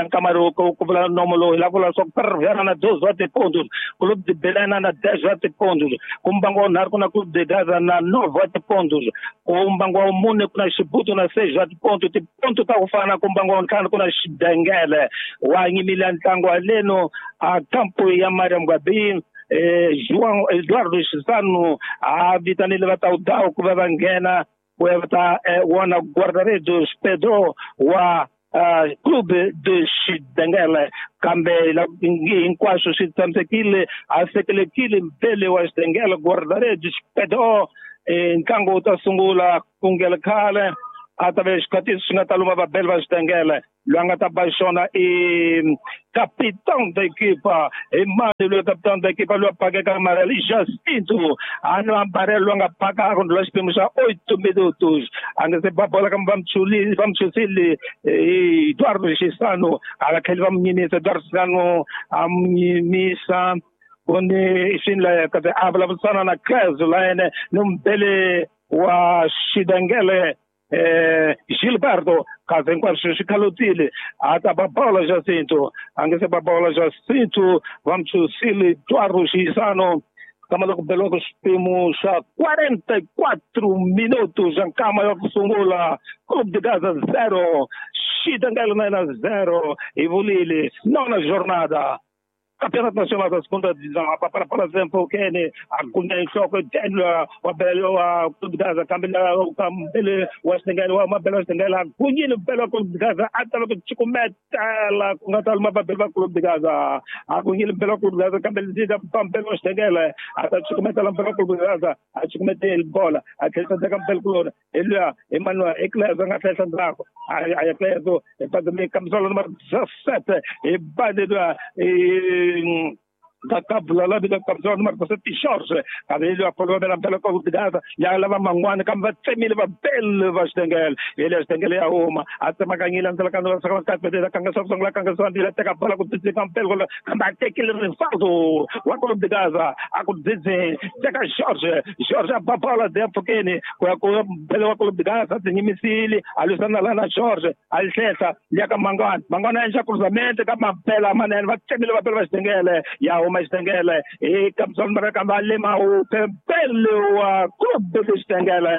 Speaker 3: Nkamaruko ku vula nomo lowu hi la vula swa Ferroviário na 12 pontos, Clube de Belém na 10 pontos, ku mbangu wa nharhu ku na Clube de Gaza na 9 pontos, ku mbangu wa mune ku na Xibuto na 6 pontos, tiponto ta ku fana ku mbangu wa ntlhanu ku na Xidengele wa khomile ntlangu wa leno a kampo ya Mariam Gabi João Eduardo Chisano a vitanile va Taudao ku va va nghena ku ya va ta wona guarda-redes Pedro wa Clube de Xidengele kambe hinkwaswo swi tshamisekile a sekelekile mbele wa Xidengele guarda-redes Pedro ntlangu wu ta sungula ku ngela khale a ta ve xikhatiso xi nga ta luma vabeli va Xidengele loyi a nga ta ba xona i capitão da equipa i mani loyi capitão da equipa loyi a pakeka amarelo i Jacinto a no amarelo loyi a nga paka a rhundula xiphemu xa 8 minutos a nga se ba bola kambe va muchusile Eduardo Chisano a va tlheli va mu nyimisa Eduardo Chisano a mu nyimisa kuni swi ndleka a vulavurisana na Clezo la yena ni mubeli wa Xidengele Gilberto kasi hinkwaswo swi khalotile a ta ba bola Jacinto a nge se ba bola Jacinto va muchusile Eduardo Chisano kama loko beliwaka xiphemu xa 44 minutos xa nkama ya ku sungula Clube de Gaza 0 Xidengele na yena 0 hi vulile nona jornada Campeonato Nacional da Segunda Divisão, a para por exemplo, Kene, a Cunha em choque, Daniel, o Belo, a Clube de Gaza, Camila, o Cambele, o Xidengele, o Mabelo Xidengele, a Cunha no Belo Clube de Gaza, até o Chico Metela, com a Talma Belo Clube de Gaza, a Cunha no Belo Clube de Gaza, Cambele, Belo Xidengele, até o Chico Metela, Belo Clube de Gaza, a Chico Metela, bola, a Cristian da Cambele Clube, ele, Emmanuel, Eclésio, a Festa Draco, a Eclésio, e camisola número 17, e Bade e da cabula la vida camisola número 17 Jorge kabelo apolo bela bela ko bidasa ya lava mangwana kamba tsemile va bel va Xidengele ele Xidengele ya huma a tsemakanyile ndzela ka ndza ka ka ka kanga sa songla kanga sa ndila teka bola ku tsika mpelo kamba tekile Rivaldo wa Clube de Gaza a ku dzidze teka Jorge Jorge ba bola de pfukeni ku ya ku bela wa Clube de Gaza tinyimisile a lwisana la na Jorge a hlehla ya ka mangwana mangwana ya cruzamento ka mapela manene va tsemile va bela va Xidengele ya huma Xidengele e camisola número kamba lema o pembele wa Clube de Xidengele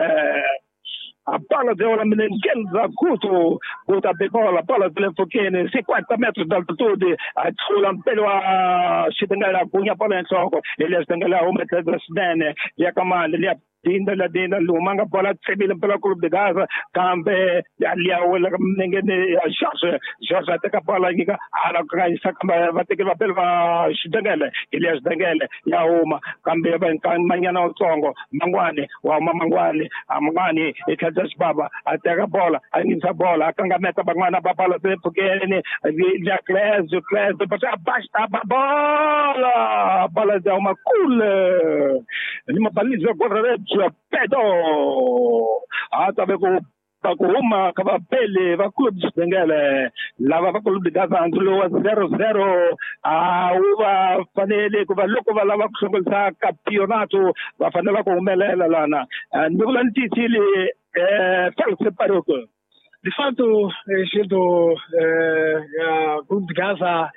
Speaker 3: a bola de ola Menenguenza Guto Guto a bola bola de Lefokene 50 metros de altitude a tshula mpele wa Xidengele a gunya bola enhloko ele Xidengele a huma tlhelo swinene ya kamani liya dinda la dinda lumanga bola tsemile mpela Clube de Gaza kambe ya wela mnengene ya Jorge Jorge ateka bola nyika ala kanyisa kambe va tekile va bela va Xidengele Elias Xidengele ya huma kambe va manyana utsongo mangwane wa huma mangwane amangwane e tlhela xibaba ateka bola a nyisa bola akangameta van'wana va bola tepfukeni ya Clésio Clésio abaixa a bola bola ya huma kule ni mabalizo guarda-redes Pedro a ta ve ku huma ka vapele va Clube de Xidengele lava va Clube de Gaza ndzulo wa 0-0 a wu va fanele ku va loko va lava ku hlongorisa campeonato va fanele ku humelela lana ni vula ni tiyisile Félix Paroco.
Speaker 4: De fato, Gildo, a Clube de Gaza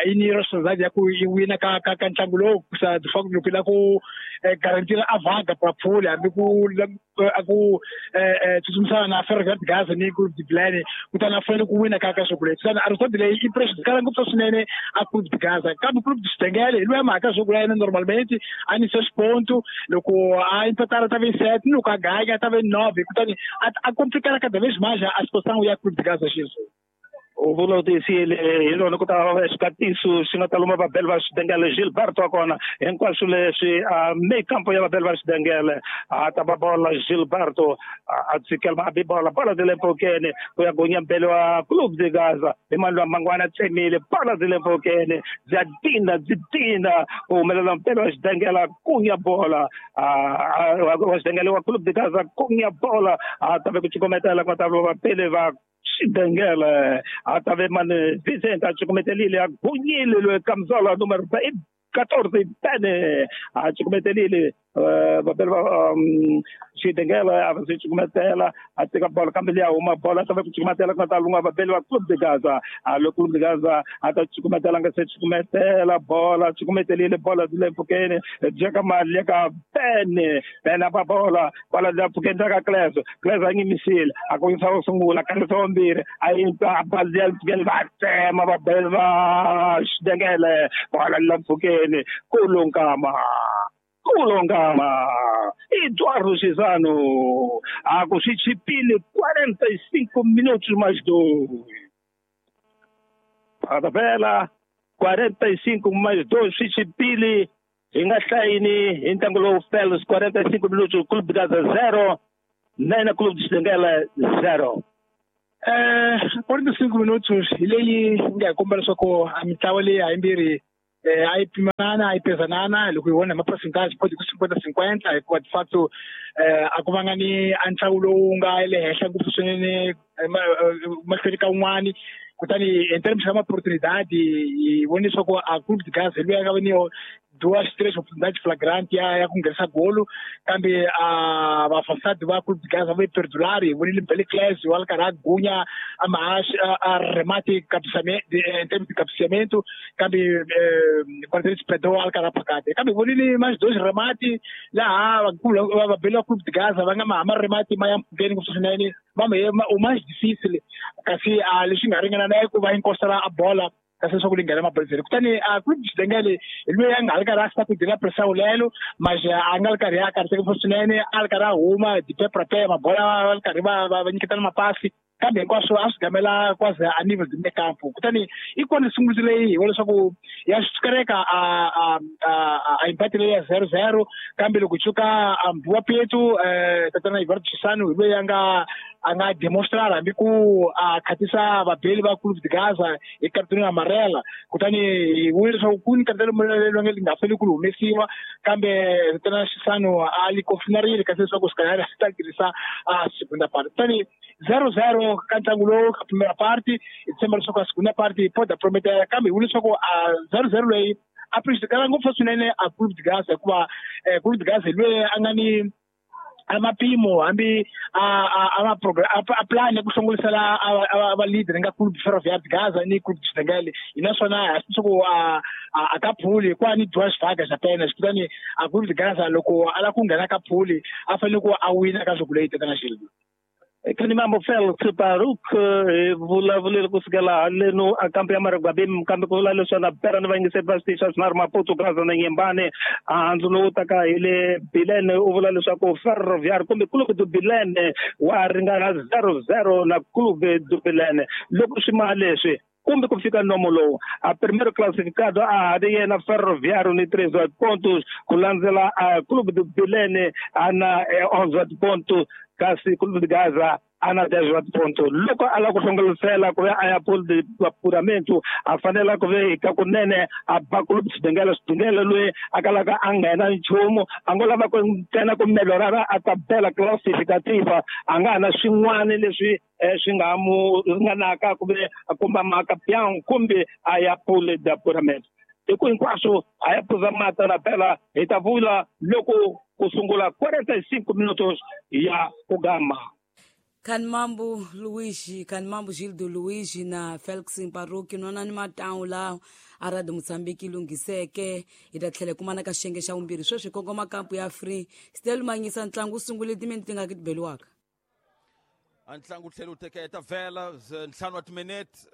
Speaker 4: i ni responsabilidade ya ku yi wina ka ka ka ntlangu lowu kusa de fato loko yi lava ku garantira a vaga pra pole hambi ku a ku tsutsumisana na Ferroviário de Gaza ni Clube de Bilene kutani a fanele ku wina ka ka swo leyi kutani a result leyi i prejudicala ngopfu swinene a Clube de Gaza kambe Clube de Xidengele hi loyi mhaka swo ya yena normalmente a ni seis ponto loko a empatara ta ve 7 loko a ganha ta ve 9 kutani a complicala cada vez mais a situação ya Clube de Gaza Gilson.
Speaker 3: U vula u tiyisile hi lona ku ta xikatiso xi nga ta luma vabeli va Xidengele Gilberto wa kona hinkwaswo leswi me kampo ya vabeli va Xidengele a ta ba bola Gilberto a tshikela a bi bola bola de le mpfhukeni ku ya gonya mbele wa Clube de Gaza hi mani lwa mangwana tsemile bola de le mpfhukeni bya dinda byi dinda ku humelela mbele wa Xidengele kunya bola wa Xidengele wa Clube de Gaza kunya bola a ta ve ku cukumetela ku ta vapele va Xidengele a ta ve mani Vicente a cukumetelile a gunyile loyi camisola número 14 pene a cukumetelile Vabeli va Xidengele a va se cukumetela a teka bolo kambe liya huma bolo a ta va ku cukumetela ku nga ta lunga vabeli va Clube de Gaza. A loko Clube de Gaza a ta cukumetela nga se cukumetela bola cukumetelile bola le mpfhukeni jeka mali ya ka Pene Pene a ba bola bola le mpfhukeni ta ka Klezo Klezo a nyimisile a kongisa wo sungula kangisa wa mbirhi a yi a ba liya mpfhukeni va tsema vabeli va Xidengele bola le mpfhukeni kulunkama kulongama Eduardo Cesano a ku swi chipile 45 minutos mais 2 a tabela 45 mais 2 swi chipile hi nga hlayini hi ntlangu lowu Felix 45 minutos Clube de Gaza 0 9 Clube de Xidengele 0.
Speaker 4: 45 minutos hi leyi nga hi komba leswaku a mitlawa leyi hayimbirhi a yi pimanana a yi pezanana loko hi vona hi ma-percentage podi ku 50-50 hikuva de facto a ku vanga ni a ntlangu lowu nga le henhla ngopfu swinene mahlweni ka wun'wani. Kutani in terms ya ma-opportunidade hi vone leswaku a Clube de Gaza hi loyi a nga va ni duas três oportunidades flagrante ya ku nghenisa golo kambe a vafasadi va Clube de Gaza va perdular. Hi vonile Bele Cles wa ri karhi a gunya a a remate in terms de cabeceamento kambe Guardians Pedro a ri karhi a phakate kambe hi vonile mais dois remate laha vabeli va Clube de Gaza va nga ma remate ma ya mpfhukeni ngopfu swinene va o mais difícil kasi a leswi nga ringana na ku va encostela a bola kasi leswaku li nghena mabazini. Kutani a Clube de Xidengele hi loyi a nga ri karhi a sacudir pressão lelo mas a nga ri karhi a karhateka ngopfu swinene a ri karhi a huma de pé pra pé mabola va ri karhi va nyiketana mapasi kambe hinkwaswo a swi gamela quase a nível de meio campo. Kutani i kona sunguluso leyi hi vona leswaku ya swi a empate leyi ya 0-0 kambe loko tshuka a Mbuwa Petu tatana Eduardo Chisano hi loyi a nga demonstrar hambi ku a khatisa vabeli va Clube de Gaza hi cartão amarela. Kutani hi vone leswaku ku ni cartão amarela leri nga fanele ku humesiwa kambe tatana Chisano a li confirmarile kasi leswaku se calhar a ta tirhisa a segunda parte. Kutani 0-0 ka ntlangu lowu ka primera parte hi tshemba leswaku a segunda parte pode prometela kambe hi vone leswaku a 0-0 leyi a prejudicala ngopfu swinene a Clube de Gaza hikuva Clube de Gaza hi loyi a nga ni a mapimo hambi a plan ya ku hlongorisela a va leader nga Clube Ferroviário de Gaza ni Clube de Xidengele hi naswona leswaku a ka phuli ku ni duas vagas apenas. Kutani a Clube de Gaza loko a lava ku nghena ka phuli a fanele ku a wina ka jogo leyi tatana Xilvi.
Speaker 3: Kani mambo Felix Baruk vulavuleli kusukela haleno a kampu ya Maragwabi kambe ku vula leswi na pera ni vayingiseri va switichi swa swinharhu Maputo Gaza na Nyembane handzu lowu taka hi le Bilene u vula leswaku Ferroviário kumbe Clube do Bilene wa ringana 0-0 na Clube do Bilene loko swi ma leswi kumbe ku fika nomo lowu a primeiro classificado a ri yena Ferroviário ni 13 pontos ku landzela a Clube do Bilene a na 11 pontos kasi Clube de Gaza a na 10 pontos. Loko a lava ku hlongorisela ku ve a ya pool de apuramento a fanela ku ve ka kunene a ba Clube Xidengele Xidengele loyi a kalaka a nghena nchumu a ngo lava ku ntsena ku melhorara a tabela classificativa a nga ha na swin'wana leswi swi nga mu ringanaka ku ve a komba makapian kumbe a ya pool de apuramento. Hi ku hinkwaswo a ya phuza mata na phela hi ta vula loko ku sungula 45 minutos ya ku gama.
Speaker 2: Kanimambu Luigi, Kanimambu Gildo Luigi na Felix Mparuki nwana ni matawu lawa a Radio Mozambique lunghiseke hi ta tlhela kumana ka xiyenge xa vumbirhi sweswi kongoma kampu ya Free Stel manyisa ntlangu wu sungule timinete tingaki ti beliwaka.
Speaker 1: A ntlangu tlhela wu teketa vhela ntlhanu wa timinete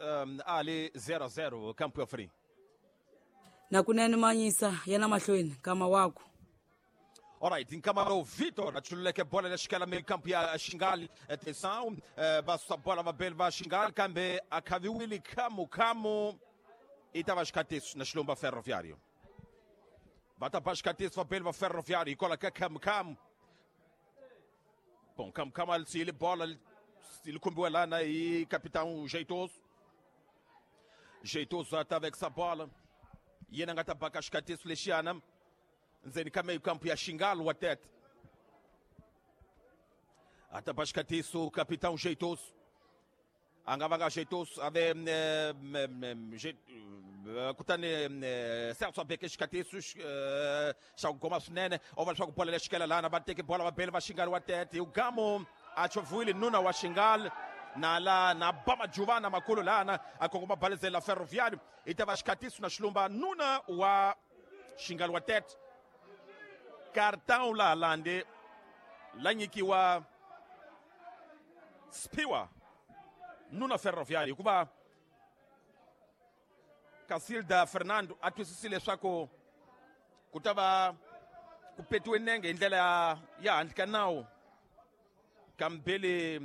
Speaker 1: a li 0-0 kampu ya Free.
Speaker 2: Na kunene manyisa yena mahlweni kama wako.
Speaker 1: Alright, nkama Vitor achululeke bola lexikela meio campo ya Xingali. Atenção, basusa bola vabeli va Xingali kambe a khaviwile khamu khamu i ta va xikatiso na Xilomba Ferroviário. Va ta ba xikatiso vabeli va Ferroviário hikwalaho ka khamu khamu. Bom, khamu khamu a li bola li khumbiwe lana hi capitão Jeitoso. Jeitoso a ta vekisa bola. Yena nga ta baka xikatiso lexiyana ndzeni ka meio campo ya Xingalo wa Tete. Ata xikatiso capitão Jeitoso. A nga vanga Jeitoso ave Kutani Celso abeke xikatiso xa ku goma swinene o va leswaku bola lexikela lana va teke bola va bele va Xingali wa Tete Ugamo a chovile nuna wa Xingali na la na Bama Juvana makulu lana a kongoma balizela Ferroviário i ta va xikatiso na xilumba nuna wa Xingali wa Tete cartão la lande la nyikiwa Spiwa nuna Ferroviário hikuva Casilda Fernando a twisisile leswaku ku ta va ku petiwe nenge hi ndlela ya handle ka nawu kambele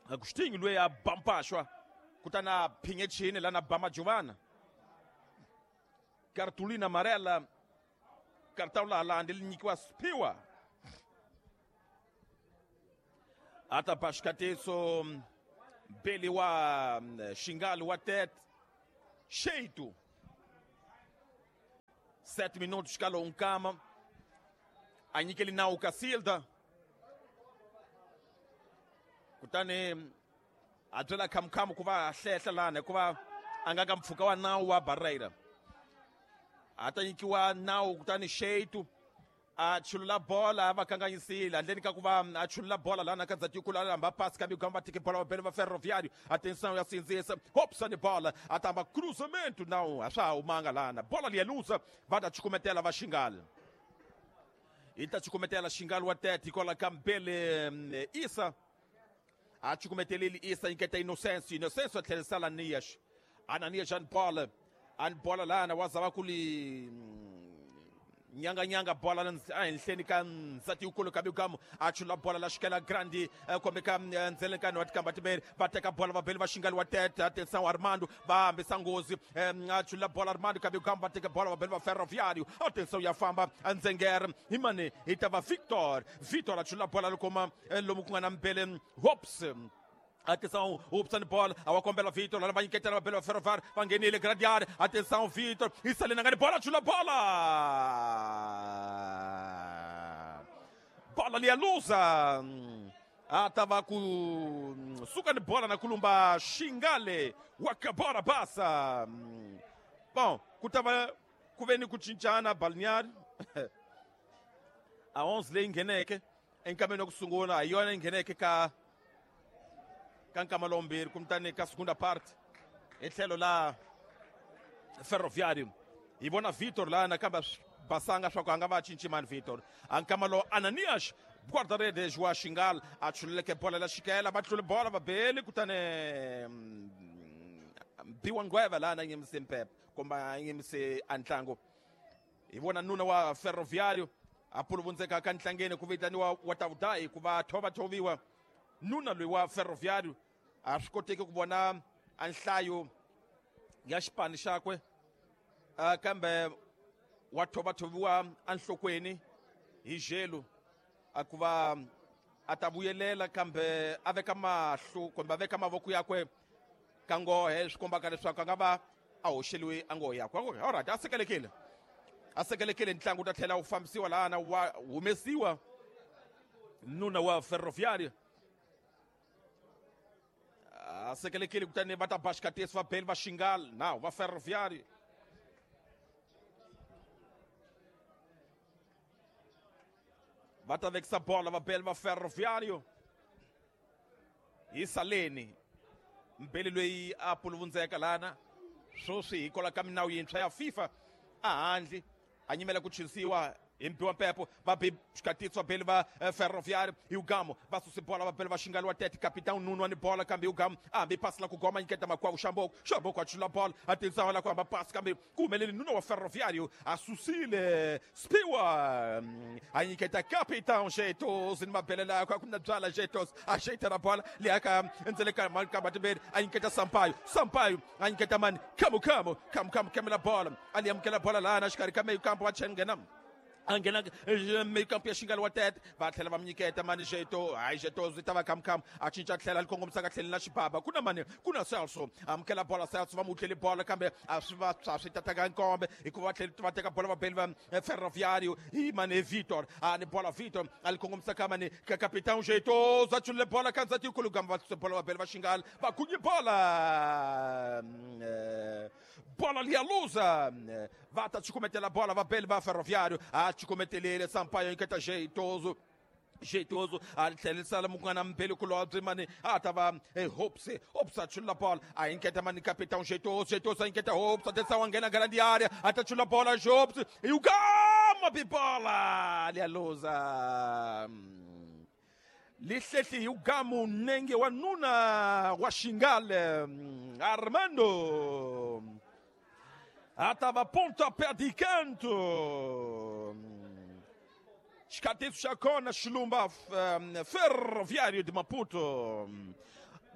Speaker 1: Agostinho loyi a bampaxwa kutani a phinye chini lana Bama Juvana cartolina amarela cartão la lande li nyikiwa Spiwa a ta ba xikatiso Beli wa Xingali wa Tete Sheito 7 minutos ka lowu nkama a nyikeli nawu Casilda kutani a byela khamukhamu ku va hlehla lana hikuva a nga ka mpfhuka wa nawu wa Barreira a ta nyikiwa nawu kutani Sheito a chulula bola a va kanganyisile handleni ka ku va a chulula bola lana ka ndzhaku a lamba pasi kambe ku va teke bola va bele va Ferroviário atenção ya sindzisa Hobson bola a tamba cruzamento nawu a swa ha humanga lana bola liya luza va ta chukumetela va Xingali i ta chukumetela Xingali wa Tete hikwalaho ka Mbele Isa a chukumeteleli Isa nyiketa Inocencio Inocencio a tlherisela Ananias Ananias and bola and bola lana wa zava ku li nyanga nyanga bola ehenhleni ka ndzati yikulu ka Bigamo a chula bola la xikela grande kumbe ka ndzelekano wa tikamba timbirhi va teka bola va beli va Xingali wa Tete atenção Armando va hambisa nghozi a chula bola Armando ka Bigamo va teka bola va beli va Ferroviário atenção ya famba Ndzengere hi mani hi ta va Victor Victor a chula bola lokoma lomu ku nga na Mbele Hops Atenção, Hobson bola, a kombela Vitor, lá vai nyiketela va bele va Ferroviário, va nghenile gradiari, atenção Vitor, isalena ngani bola, chula bola! Bola ali a luza! A tava ku suka ni bola na kulumba Xingale, wakabora basa! Bom, ku tava ku ve ni ku cincana balneário. A 11 leyi ngheneke enkameni wa ku sungula, hi yona yi ngheneke ka nkama lombirhi kumtani ka segunda parte hi tlhelo la Ferroviário hi vona Vitor la nakambe basanga swa ku a nga va cinci mani Vitor a nkama lowu Ananias guarda-redes wa Xingali a chululeke bola la xikela va tlule bola va beli kutani Biwa Ngweva lana nyimise mpepe kumbe a nyimise a ntlangu hi vona nuna wa Ferroviário a puluvundzeka ka ntlangeni ku vitaniwa wa Tavudai ku va thovathoviwa nuna loyi wa Ferroviário a swi koteki ku vona a nhlayo ya xipano xakwe kambe wa thovathoviwa enhlokweni hi jelo a ku va a ta vuyelela kambe a veka mahlo kumbe a veka mavoko yakwe ka nghohe swi kombaka leswaku a nga va a hoxeliwe a nghohe yakwe alright a sekelekile ntlangu wu ta tlhela wu fambisiwa lahana wa humesiwa nuna wa Ferroviário a sekelekile kutani va ta ba xikatesi va beli va Xingali nawu va Ferroviário va ta vekisa bola va beli va Ferroviário hi saleni Mbeli loyi a puluvundzeka lana sweswi hikwalaho ka minawu yintshwa ya FIFA a handle a nyimela ku chinsiwa hi Mbiwa Mpepo va bi xikatitso va beli va Ferroviário hi Ugamo va susi bola va beli va Xingali wa Tete capitão Nuno ni bola kambe Ugamo a hambi pasi la ku goma nyiketa makwavo Xamboko Xamboko a chula bola a tinsawa la ku hamba pasi kambe ku humeleli Nuno wa Ferroviário a susile Spiwa a nyiketa capitão Jetos ni mabele yakwe a ku na byala Jetos a xeta na bola leyi ka ndzele ka makamba timbirhi a nyiketa Sampaio Sampaio a nyiketa mani Khamu Khamu Khamu Khamu kemela bola a li amukela bola lana xikarhi ka meyo kampo wa chenghena A nghena meio campo ya xingalo wa tete va tlhela va mi nyiketa mani jeto hayi jeto zwi ta va khamukhamu a cinca tlhela li kongomisaka tlheli na xibaba ku na mani ku na Celso amukela bola Celso va mu tlheli bola kambe a swi va swa swi tataka nkombe hikuva va tlheli va teka bola va beli va Ferroviário hi mani Vitor a ni bola Vitor a li kongomisaka mani ka capitão jeto za chulile bola kanza tikulu gamba va bola va beli va xingalo va kunye bola bola lialuza va ta cukumetela bola va beli va Ferroviário a cukumetelele Sampaio nketa jeitoso jeitoso a tlhelisela munghana mbeli kulobye mani a ta va Hopes Hopes a chula bola a inketa mani capitão jeitoso jeitoso a inketa Hopes atenção a nghena grande área a ta chula bola Hopes e o gama bibola lialuza lihlehli ugamu nenge wa nuna wa xingale Armando atava pontapé de canto. Xikatiso xa kona Xilumba Ferroviário de Maputo.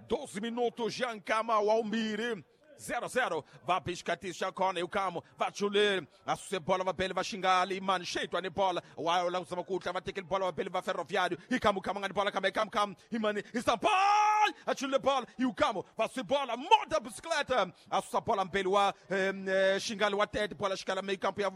Speaker 1: 12 minutos Jean Kama wa umbiri 0-0. Va piscatiso xa kona yukamo va chule a suse bola va bele va xingali mani xeitwa ni bola wa la kusama kutla va tekeli bola va bele va Ferroviário ikamu kama ngani bola kambe kam kam imani isampal a chule bola yukamo va suse bola moda bicicleta a susa bola mbele wa xingali wa tete bola xikala meio campo ya